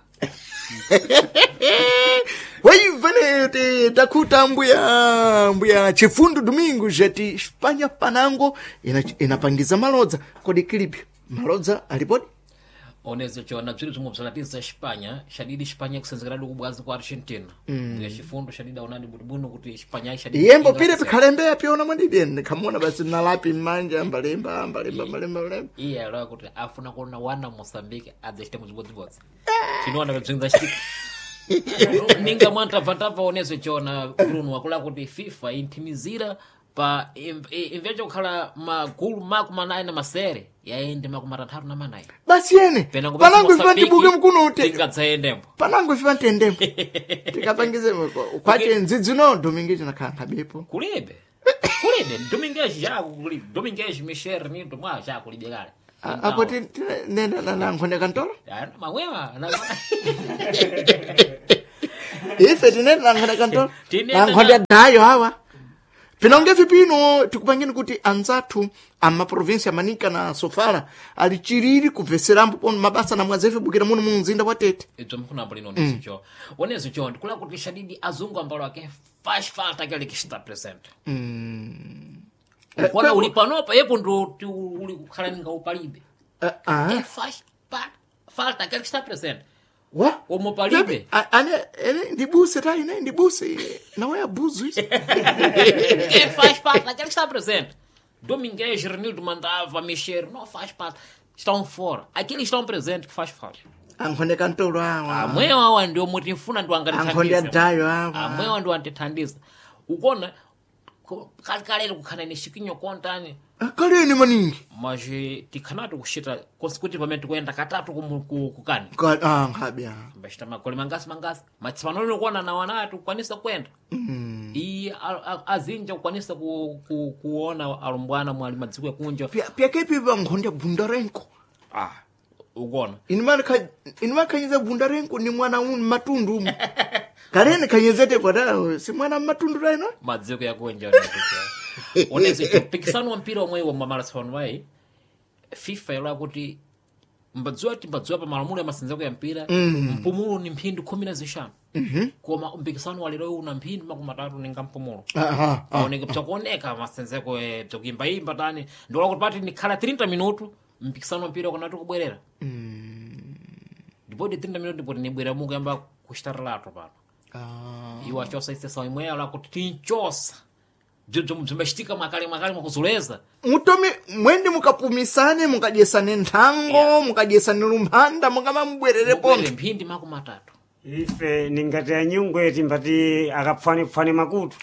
Waivene te takuta mbuya mbuya Chifundo Domingo jati Espanha panango inapangiza malodza kodi kilipi malodza alipodi.
Onezo chona bziri bzomwe bzalatiza Espanha xadidi Espanha kusenzekera kubwazi kwa Argentina. Mm. Chifundo xadidi aonani bwinobwino kuti Espanha xadidi
Yembo pire pikhalembe apiona mwadibi ndikhamona basi nalapi mmanja ambalemba ambalemba ambalemba ambalemba.
Iye alowa kuti afuna kuona wana Moçambique adzachita muzibodzibodzi chinoona pebzinza chitika ninga mwantabvantabva onezo chona Bruno wakula kuti FIFA inthimizira pa imvecho kukhala magulu 48 na masere yaende 34.
Basi yene
Penango
panango ife tibuke mkuno te
tingadzaendembo
panango ife tendembo tikapangize kwache ndzidzino Domingo chinakhala nkhabepo.
Kulibe kulibe Domingues já kulibe Domingues Michel Nito mwa já kulibe kale.
Apo nenda na nkhonde kantolo.
Mamwewa
Ife tinenda na nkhonde kantolo.
Tinenda
Na nkhonde dayo hawa. Pinonge vipino tikupangeni kuti anzathu amaprovinsi amanika na Sofala ali chiriri kubveserambo pono mabasa na mwazefe bukira muno mu mzinda wa Tete.
Ibzo mkhunambo lino ndizicho onezo ndikula kuti shadidi azungu ambalo ake faz falta aquele que está presente. Ukona uli panopa yepo ndo uli kukhala ninga upalibe. É faz falta aquele que está presente.
Wa?
Omo palibe.
Ane ene ndibuse ta ine ndibuse nawe abuzu iso.
Quem faz parte daquele que está presente. Domingues, Renildo mandava mexer, não faz parte. Estão fora. Aqueles que estão presentes que faz falta.
Ankhonde kantolo awa.
Amwewa awa ndio mutifuna ndio
Ankhonde
angatithandiza.
adayo awa.
Amwewa ndio antithandiza. Ukona kalekale kukhana ni chikinyo kontani
Kaleni maningi.
mas tikhanati kuchita kuti pamene tikuyenda katatu kukani
Ah nkhabe.
mbachita magoli mangasi mangasi matsipano kuona na wana ati kukwanisa kuyenda. Iye azinja kukwanisa kuona alumbwana mwali madziko yakunja.
Pyakepi pa nkhonde Bundarenko.
Ah.
Ukuona
Inimakhanyiza Bundarenko ni mwana unu matundu umu. Kaleni khanyezete pata si mwana matundu taino.
Madziko yakunja onezo mpikisano wa mpira omwe wa mamarathon wayi FIFA yalowa kuti mbadziwa ti mbadziwa pa malamulo ya masenzeko ya mpira mpumulo ni mphindi 15. Koma mpikisano walero una mphindi 30 ninga mpumulo.
Aha.
Aoneke bzakuoneka masenzeko bzakuimbaimba tani ndiola kuti pati nikhala 30 minutu mpikisano wa mpira ukanati kubwerera ndipoti 30 minutu ndipoti nibwerera mukuyamba kuchitaralato pano. Iwo achosa isesawo imweyo ala kuti tinchosa bzibzo bzimbachitika mwakale mwakale mwakuzuleza.
Mutomi mwendi mukapumisane mukadyesane nthango mukadyesane lumphanda mukamambwerere
Mubwerere
pontho.
mphindi 30.
Ife ningati anyungwe timbati akapfanepfane makutu.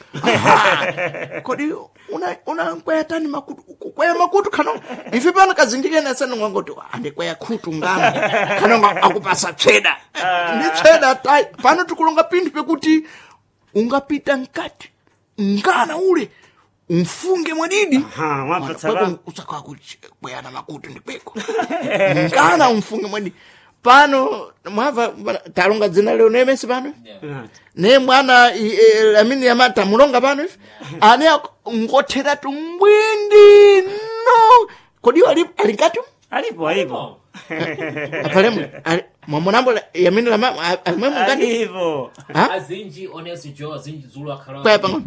Kodi una una tani makutu kukwaya makutu khano ife pano kazindikena sanu ngangoti andikweya khutu ngano khano akupasa tsweda ndi tsweda tai pano tikulonga pinthu pekuti ungapita mkati ngana ule umfunge mwadidi.
Aha, mwapatsa la.
Usakwa kukweyana makutu ndikweko ngana umfunge mwadidi pano mwava talonga dzina leo nemesi pano ne mwana amini yamata mulonga pano ife ane ngothera tumbwindi no kodi ali alinkati
Alipo alipo.
apalemu mwamunambo yamini lama alimwe mungati.
Alipo.
Ha?
Azinji oneso jo azinji dzulo akhala
Kwaya pang'ono.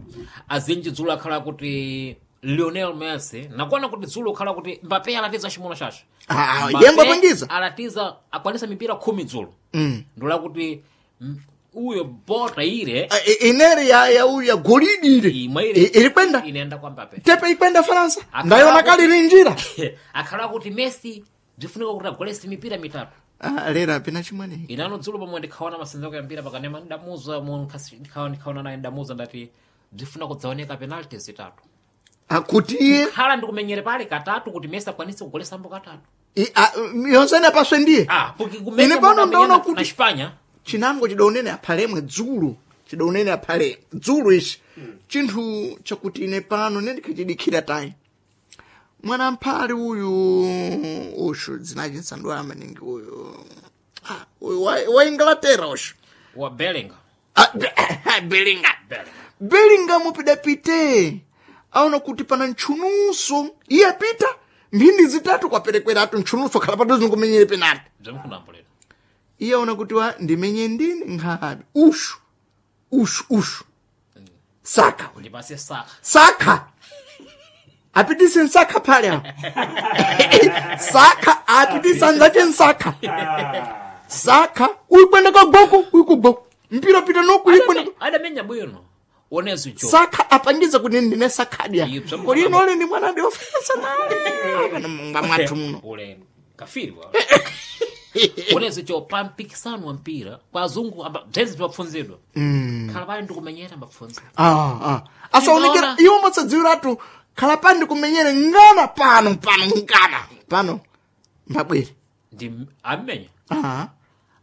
Azinji dzulo akhala kuti Lionel Messi nakuona kuti dzulo akhala kuti Mbappe alatiza chimono chacho.
Ah,
Mbappe
yembo apangiza.
Alatiza akwanisa mipira 10 dzulo. Ndola kuti uyo bota ile
Ineri ya uyu ya golidi ile
imwe ile
iri kwenda
inaenda kwa Mbappe.
tepe ikwenda Faransa
Akhala
ndayona
kuti-
kali linjira.
Akhala kuti Messi bzifunika kuti agolese mipira mitatu.
Ah, lera pina chimwene.
Inano dzulo pomwe ndikhaona masenzeko ya mpira pakanema ndamuza ndikhaona naye ndamuza ndati bzifuna kudzaoneka penalty zitatu.
Akuti iye
Khala ndikumenyere pale katatu kuti Messi akwanise kugolesambo katatu.
Yonsene apaswe ndiye.
Ah, porque kumenya
Ine pano
munthu
ndaona
amenya
kuti-
na Espanha.
Chinango chidaonene aphalemwe dzulo, chidaonene aphale dzulo ichi chinthu chakuti ine pano nendikhachidikhira tayi mwana mphali uyu ushu dzinachi nsandwala maningi uyu. Ah, uyu wa Inglaterra ushu
Wa Bellingham.
Ah, Bellingham. Bellingham pidapite aona kuti pana ntchunuso iye apita mphindi zitatu kwaperekweratu ntchunuso khala padodzi nkumenyere penalty.
Bzomkunambo lero.
Iye aona kuti wa ndimenye ndini nkhabe ushu ushu ushu saka we.
Ndipase Saka.
Saka apitise nsakha phale apo saka apitise anzache nsakha saka uyikwenda kagoko uyikugoko mpira pita noku uyikwenda
Adamenya bwino. Onezo jo.
Saka apangiza kuti ndine sakhadya
Iyo, bzomkunambo.
kodi inole ndi mwana ndi ofansa naye kana munga mwathu muno.
Ule kafiri wa. Onezo jo pa mpikisano wa mpira kwa azungu amba bzenzi bapfunzidwa. Khala pali ndikumenyera mbapfunza.
Ah, ah. Asaonekera
Ndinaona.
iwo matsadziwiratu khala pandi kumenyere ngana pano pano ngana pano mbabwere.
Ndi amenya.
Ah.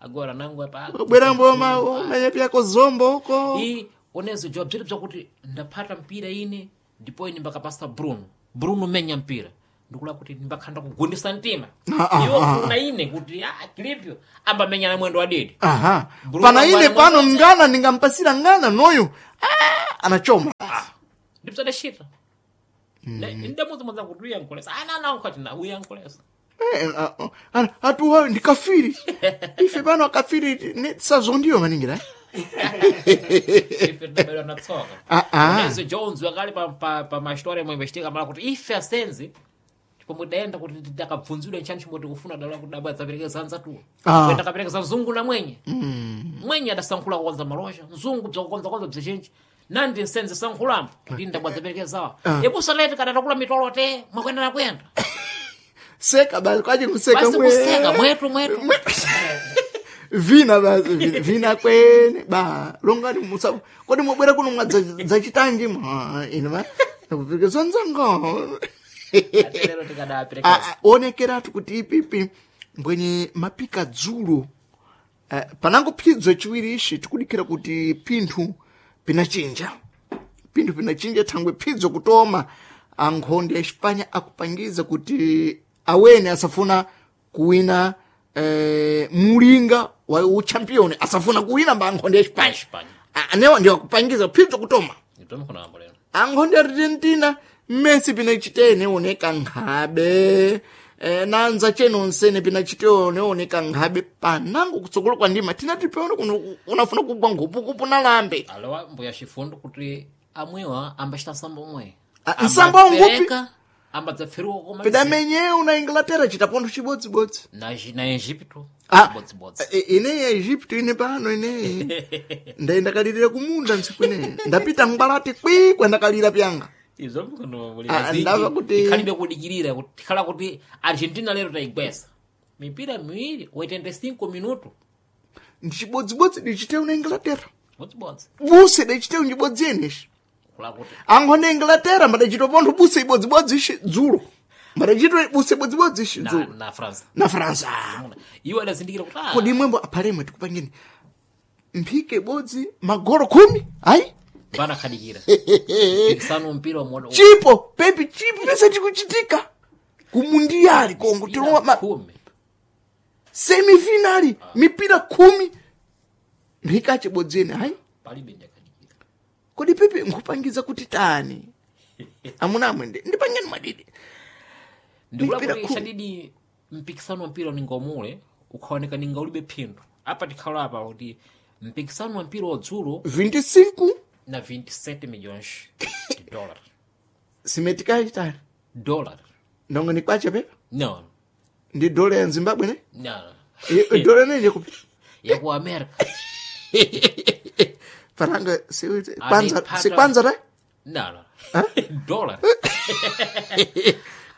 Agora nangu apa.
Bwera mboma umenye pyako zombo uko.
I onezo jo bziri bzakuti ndaphata mpira ine ndipo ine mbakapasa Bruno. Bruno menya mpira. Ndikula kuti mbakhanda kugundisa mtima.
Ah, ah,
Iwo
ah,
kuna ine kuti ah kilipyo ambamenya na mwendo wadidi.
Aha.
Bruno
Pana ine
Mwana
pano
mwana.
ngana ndingampasira ngana noyo. Ah, anachoma.
Ndipsadashita. Ndamudzi kuti uyankulesa. Ana ana na uyankulesa.
Eh, ah, ah, atuwa ndi kafiri. Ife pano akafiri ne sazondiyo maningira. Eh?
Ife tinabadwa na tsoka.
Ah, ah.
Onezo Jones wakali pa mastori amwe imbachitika mala kuti ife asenzi pomwe daenda kuti tidakabvunzidwa nchani chimwe tikufuna dala kuti dabwa dzaperekeza anzatuwa.
Ah.
Kwenda kaperekeza mzungu na mwenye. Mwenye adasankhula kukonza malosha, mzungu bzakukonza konza bzichinji. Nandi nsenzi sankhulambo kuti ndabwa dzaperekezawa. Ibusa leti kadatakula mitolo te mwakwenda na kwenda.
Seka basi kwaje kuseka
Basi kuseka mwetu mwetu.
Vina basi vina, vina kwene ba longani musa kodi mwabwera kuno mwadzachitanji mwa ine ma kupirikizwa nzanga.
Lero tikadaperekeza.
Ah, ah, onekeratu kuti ipipi mbwenye mapika dzulo panango phidzo chiwiri ishi tikudikira kuti pinthu pinachinja pinthu pinachinja thangwe phidzo kutoma ankhonde ya Espanha akupangiza kuti awene asafuna kuwina mulinga wa uchampioni asafuna kuwina mba ankhonde ya Espanha.
Espanha.
Ah, anewa ndiwo akupangiza phidzo kutoma.
Ndipamkhona lero.
Ankhonde Argentina Messi pinachitene oneka nkhabe nanza cheno nsene pinachitene oneka nkhabe panango kutsogolo kwa ndima tinati peone kuno unafuna kugwa nkhupukupu nalambe.
Alowa mbuya chifundo kuti amwewa ambachita nsambo omwe.
Ah, nsambo ngupi?
Ambadzapferuka koma
Pidamenyeu na Inglaterra chitapontho chibodzibodzi.
na Egipto
Ah,
bodzibodzi.
Ine ya Egypto ine pano ine ndaendakalirira kumunda ntsiku ine ndapita ngwalati kwi kwendakalira pyanga.
Izvo mkono
Ah, ndava kuti-
tikhalibe kudikirira kuti tikhala kuti Argentina lero tayigwesa mipira miwiri 85 minuto
Ndi chibodzibodzi dichiteu na Inglaterra
bodzibodzi
buse dichiteu njibodzi yeneshi.
kula kuti
Ankhonde Inglaterra madachitopontho buse ibodzibodzi ishi dzulo madachito buse ibodzibodzi ishi
na,
dzulo
na France
na Fransa.
iwo adazindikira kuti ah,
Kodi imwembo aphalemwe tikupangeni mphike ibodzi magolo 10 ayi
bana khadikira pikisano mpira wa
chipo pepi chipo pese chikuchitika kumundiyali kongo tilowa ma
khumi
semifinali mipira 10 mphika chibodzi ene ayi.
palibe ndiyakhadikira.
Kodi pepe nkupangiza kuti tani amuna amwe ndipangeni mwadidi.
Ndikula
Mipira
kuti
khumi.
chadidi mpikisano wa mpira ningomule ukhaoneka ninga ulibe phindu apa tikhala apa kuti mpikisano wa mpira wadzulo
25
na 27 milhões de dólar
simetikachitani
dólar
ndongo ni kwacha pepa
no
ndi dola ya Zimbabwe ne.
no
Dola nenje kupi
ya ku America.
Faranga si kwanza si kwanza ra.
No no dólar.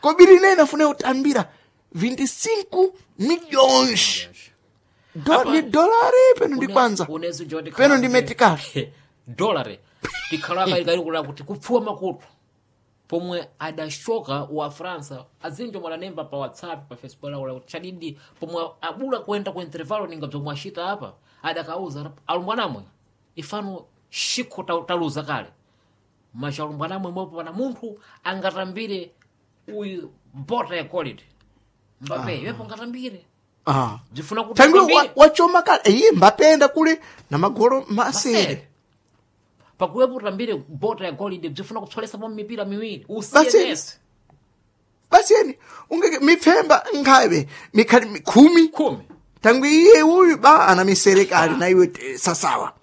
Kobiri nene afune utambira 25 milhões ndi dolari peno ndi kwanza
unezo jo tikhala
peno ndi
kuti-
metikali
dólar tikhala apa ikalikula kuti kupfuwa makutu pomwe adashoka wa Fransa azinjo mwalanemba pa WhatsApp pa Facebook laula kuti chadidi pomwe abula kuenda ku intervalo ninga bzomwe ashita apa. Adakauza alumbwanamwe ifano shikho taluza kale macha alumbwanamwe mwepo pana munthu angatambire uyu bota ya quality Mbappe yepo angatambire
Ah.
bzifuna kuti
Tangu
atambire.
wachoma kale iye Mbappe enda kule na magolo masere.
Masere. Pakuwepo utambire bota ya golide bzifuna kupsolesa po mipira miwiri
Basi.
usiye Messi
Basi eni ungeke mipfemba nkhabe mikhali 10
10
tangu iye uyu ba ana misere kale na iwe sasawa.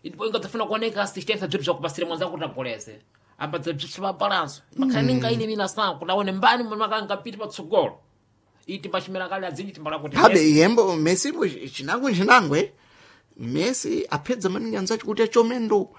Ndipo ingadzafuna kuoneka assistance bzinthu zvakupasira mwanzako kuti agoleze ambadza bzithu pa balanso makhale ninga ile mina sana kuti aone mbani makangapiti patsogolo iti pachimera kale adzinji timbala kuti
Habe
Messi.
yembo Messi bo chinangwe chinangwe Messi apedza maningi anzacho kuti achomendo.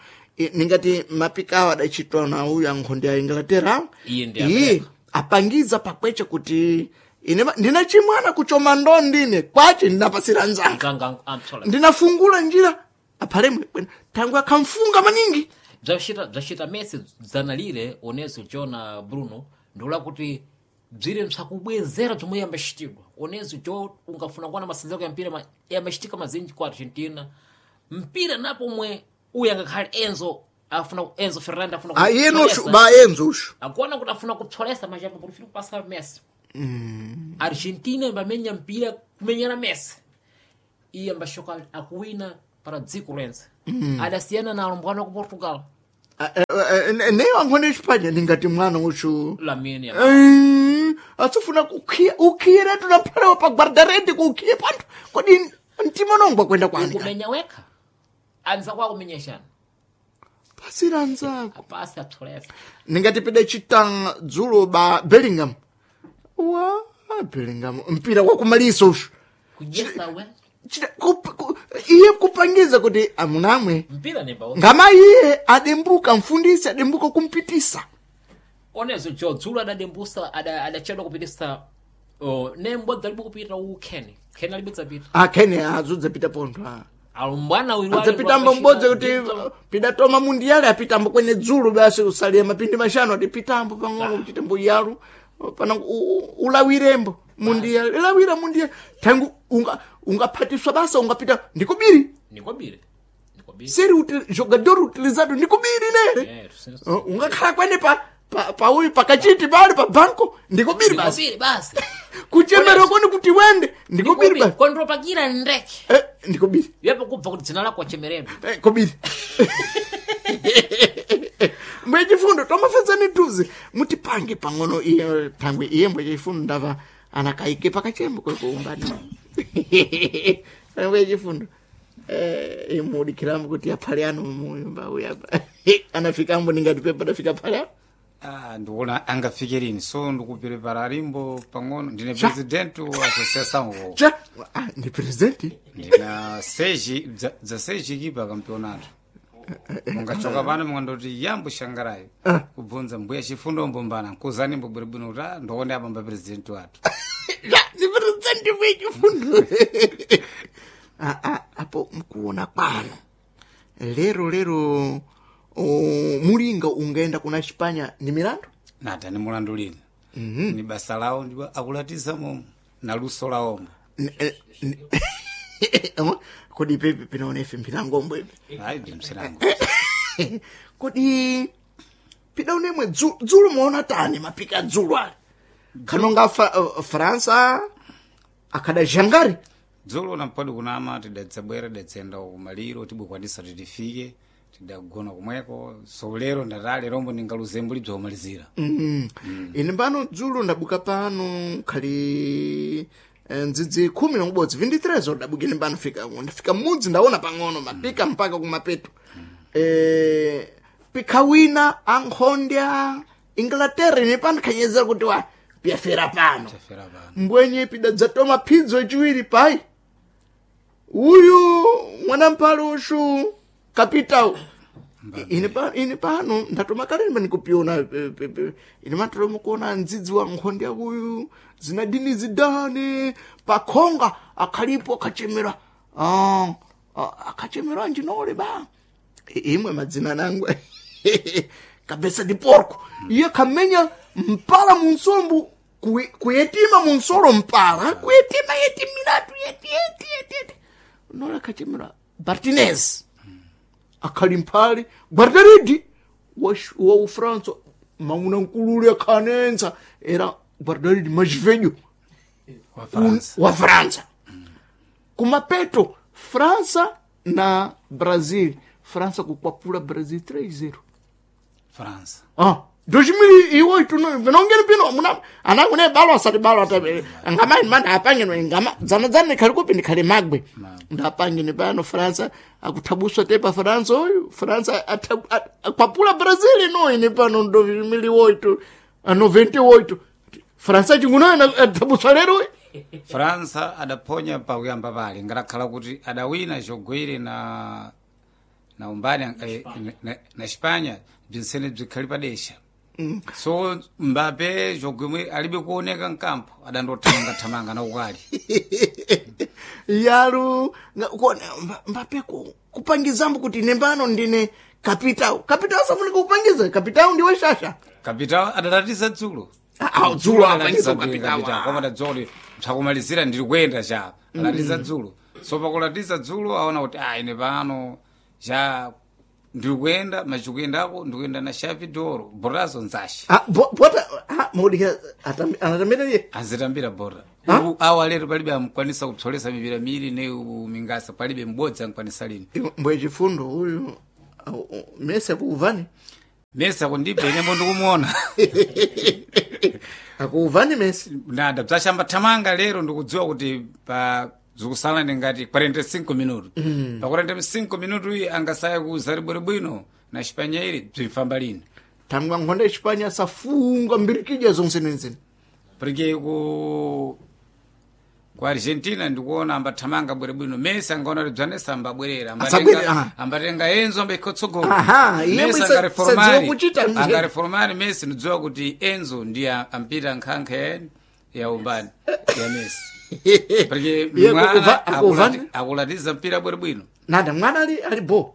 Ningati mapikawa adachitwa na uyu ankhonde ya Inglaterra.
Iye ndi
Iye
America.
apangiza pakweche kuti ine ndina chimwana kuchoma ndo ndine kwache ndinapasira nzanga.
Mzanga amtsola
Ndinafungula njira aphalemwe bwino tangu akamfunga maningi.
Bzachita Messi dzanalire onezo Jona Bruno ndikula kuti bzire msakubwezera bzomwe yambachitirwa onezo jo ungafuna kuona masenzeko ya mpira yambachitika mazinji ku Argentina mpira napo omwe uyu angakhale Enzo afuna Enzo Fernandez afuna
Ah, iye noshu
kupsolesa.
ba Enzo ushu.
Akuona kuti afuna kupsolesa machapo kuti ufuna kupasa Messi. Argentina imbamenya mpira kumenyana Messi iye ambashoka akuwina para dziko lense. Adasiyana na alumbwana ku Portugal.
Ah, neyo ankhonde Espanya ndingati mwana ushu.
Lamine
Atsofuna kukhiya ukhiyira tunaphalewa pa guardarete kukhiye panthu kodi mtima nongwa kwenda kwani
kumenya wekha anza kwa kumenyeshana
pasira anzako
apasi apsolesa
ningati pide chita dzulo ba Bellingham wa Bellingham mpira wakumaliso ushu
kudyesa we
iye kupangiza kuti amunamwe
mpira nemba
ngama iye adembuka mfundisi adembuka kumpitisa
onezo jo dzulo adadembusa adachedwa kupitisa oh, nembo dzalibe kupita u Ken Ken alibe dzapita
akhene azudzapita pontho ah.
alumbwana uyu
adzapitambo mbodzi kuti pidatoma mundiyale apitambo kwene dzulu basi usalie mapindi mashanu adi pitambo pang'ono kuchita mbuyalu pana ulawirembo mundiyale ilawira mundiyale thangu ungaphatiswa basa ungapita ndikubiri
nikobire nikobire
seri jogador utilizado ndikubiri nere
Eh,
ungakhala kwene pa pauyu pakachiti pali pa banko ndikubiri basi
nikobire basi
kuchemera koni kuti wende ndikubiri basi
kondropakira ndeke
eh, ndikubiri
yepo kubva kuti dzina lako wachemeredwa
Eh, kobiri mbwe chifundo tomafedzani tuzi mutipange pang'ono iye thangwe iye mbwe chifundo ndava anakaike pakachembo kwekuumbani mbwe chifundo eh, imudikirambo kuti aphale ano muyumba uyu apa anafikambo ningati pepa adafika phale ano
Ah, ndikuona angafike lini so ndikupirepara limbo pang'ono ndine president wa associação wo
cha ah, ndi presidenti
ndina seji dza seji kipa campeonato mungachoka pano mungandoti yambo shangarayo kubvunza mbuya chifundo mbombana nkuzani mbobweribwino kuti ah, ndoone apamba president wathu
ya ndi presidenti mbwe chifundo ah, ah, apo mkuona kwano lero lero mulinga ungaenda kuna Chipanya ni milandu
nata ni mulandu lini ni basa lawo ndipo akulatiza momo na luso lawomo
Kodi pepe pinaona ife mpilangombo ipe
ayi ndi msilango
kodi pidaonemwe dzulo muona tani mapika dzulo ali kanonga Fransa akhada jangari
dzulo nampodi kunama tidadzabwera tidadzenda kumaliro tibwekwanisa titifike tidagona kumweko so lero ndatale rombo ndingaluzembo libzaumalizira
mm. Ine pano dzulo ndabuka pano khali ndzidzi 11 23 ndabukine pano fika ndafika mudzi ndaona pang'ono mapika mpaka kumapeto pika wina ankhondya Inglaterra ine pano khanyezera kuti wa piyafera pano
tafera pano
mbwenye pidadzatoma phidzo yachiwiri pai uyu mwanamphale ushu kapitao ine pano ndatoma kale ndima ndikupiona ine matoloma kuona ndzidzi wa nkhonde yakuyu zinadini zidane pakhonga akhalipo akhachemera ah, akhachemera anjinole ba imwe madzina nangu kabesa di porco iye khamenya mpala munsombu kuyetima munsolo mpala kuyetima yeti miratu yeti yeti yeti yeti. Nola kachemera Martinez akhali mphali guardaridi wa Ufransa mauna nkulule akhanenza era guardaridi majivenyo
Wa Fransa.
wa Fransa kumapeto Fransa na Brazil, Fransa kukwapula Brazil 3-0.
Fransa.
Ah, 2008 no vinongeni pino muna anangune balo asati balo atabe ngama manda apangene ngama zana zana khali kupi ndikhale magwe ndapangene pano Fransa akuthabuswa tepa Fransa oyu Fransa akwapula Brazil no ine pano 2008 a 98 Fransa chinguno athabuswa lero oyu.
Fransa adaphonya pakuyamba pale ngatakhala kuti adawina chogwere na umbani na Espanya bzinsene bzikhali padesha so Mbappe chogwemwe alibe kuoneka mkampo adandothamanga-thamanga na ukali
Yalu kuona Mbappe kupangizambo kuti nembano ndine kapitao kapitao safunika kupangiza kapitao ndiwe shasha.
Kapitao adalatiza dzulo.
Ah, ah, dzulo
Adalatiza
apangiza
dzulo
kapitao.
kapitao koma adadzuwa kuti msakumalizira ndili kuyenda cha alatiza dzulo so pakulatiza dzulo aona kuti ah ine pano cha ndili kuyenda machikuyendako ndikuyenda na Xavi Doro borazo nzashi.
Ah, bota ah, mudika anatambira iye.
Azitambira bora awa lero palibe amkwanisa kupsolesa mipira miiri ne mingasa palibe m'bodzi amkwanisa lini.
Mbwe chifundo uyu Messi akuuvani.
Messi akundibe inembo ndikumuona.
Akuuvani Messi.
Nada bzachamba thamanga lero ndikudziwa kuti pa zikusala ndi ngati 45 minutu pa 45 minutu iyi angasaya kuza bwino na Xipanya ili bzimfamba lini.
Thangwa nkhonda Espanya asafunga mbirikija zonse nenzene.
Porque ku Argentina ndikuona ambathamanga bwino Messi angaona kuti bzanesa ambabwerera
Asabwere, aha.
ambatenga Enzo ambaikhotsogolo.
Aha, iye sadziwa kuchita mje.
Angareformari Messi ndidziwa kuti Enzo ndiye ampita nkhankha ya umbani ya Messi porque
Iye
mwana
akuvani?
akulatiza mpira bwino.
Nada mwana ali bo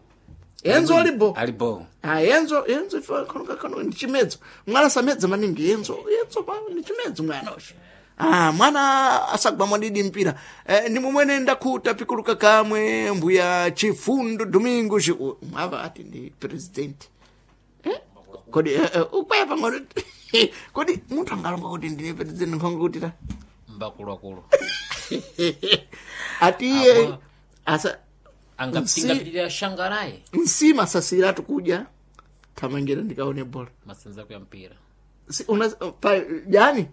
Enzo ali bo.
Ali bo.
Ah, Enzo ife kano kano ndi chimedzo mwana samedza maningi Enzo Enzo pa ndi chimedzo mwana osho. Ah, mwana asagwa mwadidi mpira ndi mumwene ndakhuta pikuluka kamwe mbuya Chifundo Domingo mwava ati ndi president kodi ukwaya pang'ono kodi munthu angalonga kuti ndine president nkhonga kuti ta
Mbakuluakulu.
Ati iye
Apa.
asa
Angapingapitirira shangarayi.
Nsima asasiratu kudya thamangira ndikaone bola.
Masenza ya mpira.
Si, una, pa, jani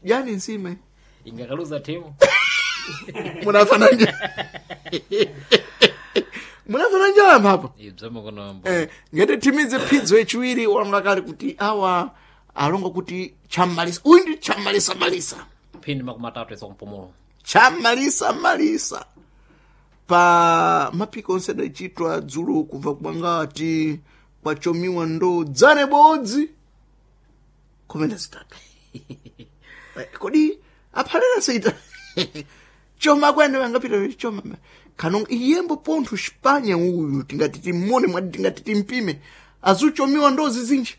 jani nsima
Ingakaluza timu.
munafananja munafananja apapo.
Ibzama kono mbo.
Ngati timidze phidzo yachiwiri walonga kale kuti awa alonga kuti chammalisa uyu ndi chammalisa malisa.
Phindi 30 izo kumpumulo.
Chammalisa malisa pa mapiko onse adachitwa dzulo kubva kwangati kwachomiwa ndo dzane bodzi 13. Kodi aphalera seita choma kwene angapita choma kano iyembo pontho Spanya uyu tingati timmone mwati tingati timpime azuchomiwa ndo zizinji.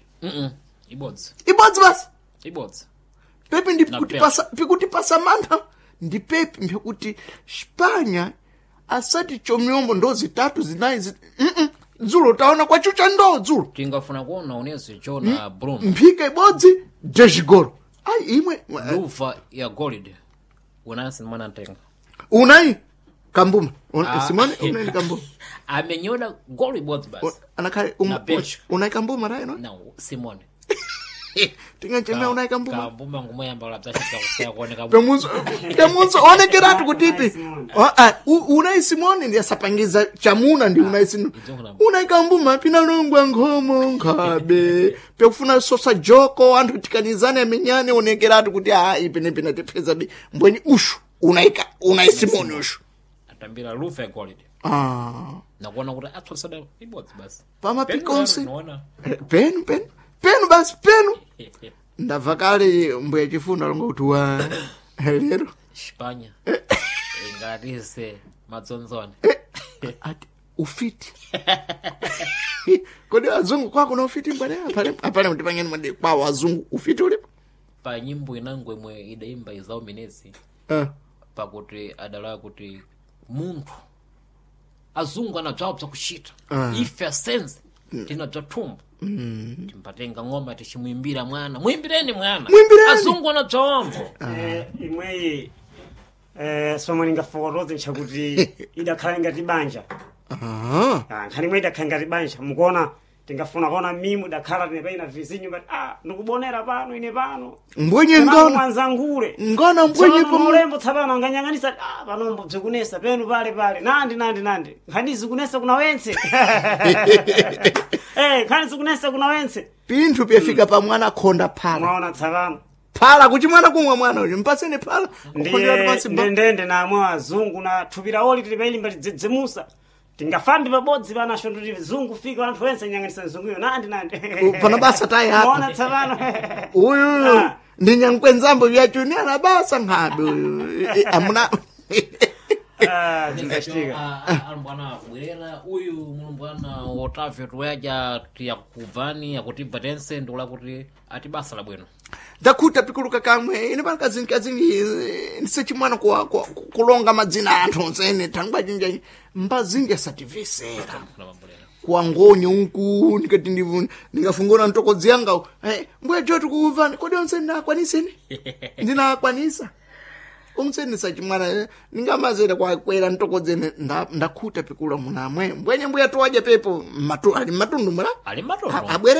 Ibodzi.
Ibodzi basi.
Ibodzi.
Pepe ndi
Na
kuti
Pepe.
pasa pikuti pasa mantha ndi pepe mpekuti Spanya asati chomiombo ndo zitatu zinayi dzulo taona kwachucha ndo dzulo.
Tingafuna kuona unezo chona Bruno.
Mphika ibodzi dezigolo ayi imwe.
Luva ya gold. Unansi mwana ntenga.
Unai kambuma Simone unai ni kambuma.
Amenyola goli ibodzi basi.
Anakhale
Na bench.
unai kambuma rayi no.
Na Simone.
Tingachemea unai kambuma.
Kambuma ngumoyamba la bzachita kusaya kuoneka.
Pemunzo pemunzo onekeratu kutipi unai Simone ndi asapangiza chamuna ndi unai Simone unai kambuma pinalungwa nkhomo nkhabe pekufuna sosa joko anthu tikanizane amenyane onekeratu kuti a ipenepena tipeza bi mbweni ushu unaika unai Simone ushu.
Atambira luva ya gold.
Ah.
Nakuona kuti atsosada ibodzi basi.
Pamapiko onse.
Naona.
Penu penu penu basi penu ndabva kale mbuya chifundo alonga kuti wa lero.
Spanya. Ingatise madzonzone.
Ati ufiti kodi azungu kwako na ufiti mbwana apale apale mtipangeni mwadi kwawo azungu ufiti ulipo.
Pa nyimbo inango imwe idaimba izao minezi
Ah.
pakuti adalawa kuti Munthu azungu anabzawo bzakuchita, ife asenze tinabza thumbo, timbatenga ng'oma tichimuimbira mwana, muimbireni mwana.
Muimbireni.
Azungu anabzawambo.
Imweyi somwe ningafotoze nchakuti idakhala ngati banja.
Ah.
Ah, nkhani imwe idakhala ngati banja, mukuona tingafuna kuona mimu idakhala tinepaina vizinyu ngati ah ndikubonera pano ine pano.
Mbwenye
Tsopano
ngona
mwanzangule
ngona mbwenye
Tsopano
pamu
mulembo tsapano anganyang'anisa ah panombo bzikunesa penu pale pale nandi nandi nandi nkhani zikunesa kuna wentse, nkhani zikunesa kuna wentse.
Pinthu pyafika pa mwana khonda phala.
Mwaona tsapano.
Phala kuti mwana kumwa, mwana uyu mpaseni phala kukhondera pansi
ndiye ndende namwe azungu na thupi lawoli tili pailimba lidzidzimusa, tingafambe pabodzi panacho nditi zungu fika anthu ense nyang'anisa mzunguyo nandi nandi.
Pana basa tayi apa.
Mwaona tsapano.
Uyu
Ah.
ndi nyankwenzambo vyachuni anabasa nkhabe uyu. Amuna.
Ah, zingachitika.
Alumbwana akubwerera uyu mulumbwana Otavio tuyaja tiyakubvani akutibva tense, ndikula kuti ati basa labwino.
Ndakhuta pikuluka kamwe ine pano kazinji kazinji ndisechimwana kulonga madzina a anthu onsene thangwa cinja mbazinji asativesera kuwangonye unku ndikati ndingafungona mtokodzi yanga, mbuya jo tikukumvani kodi onse ndinakwaniseni ndinakwanisa umseni sachimwana ningamazera kwakwera mtokodzene ndakhuta pikula munamwe mbwenye mbuya towadya pepo ali matundu mula.
Ali matundu.
Abwere.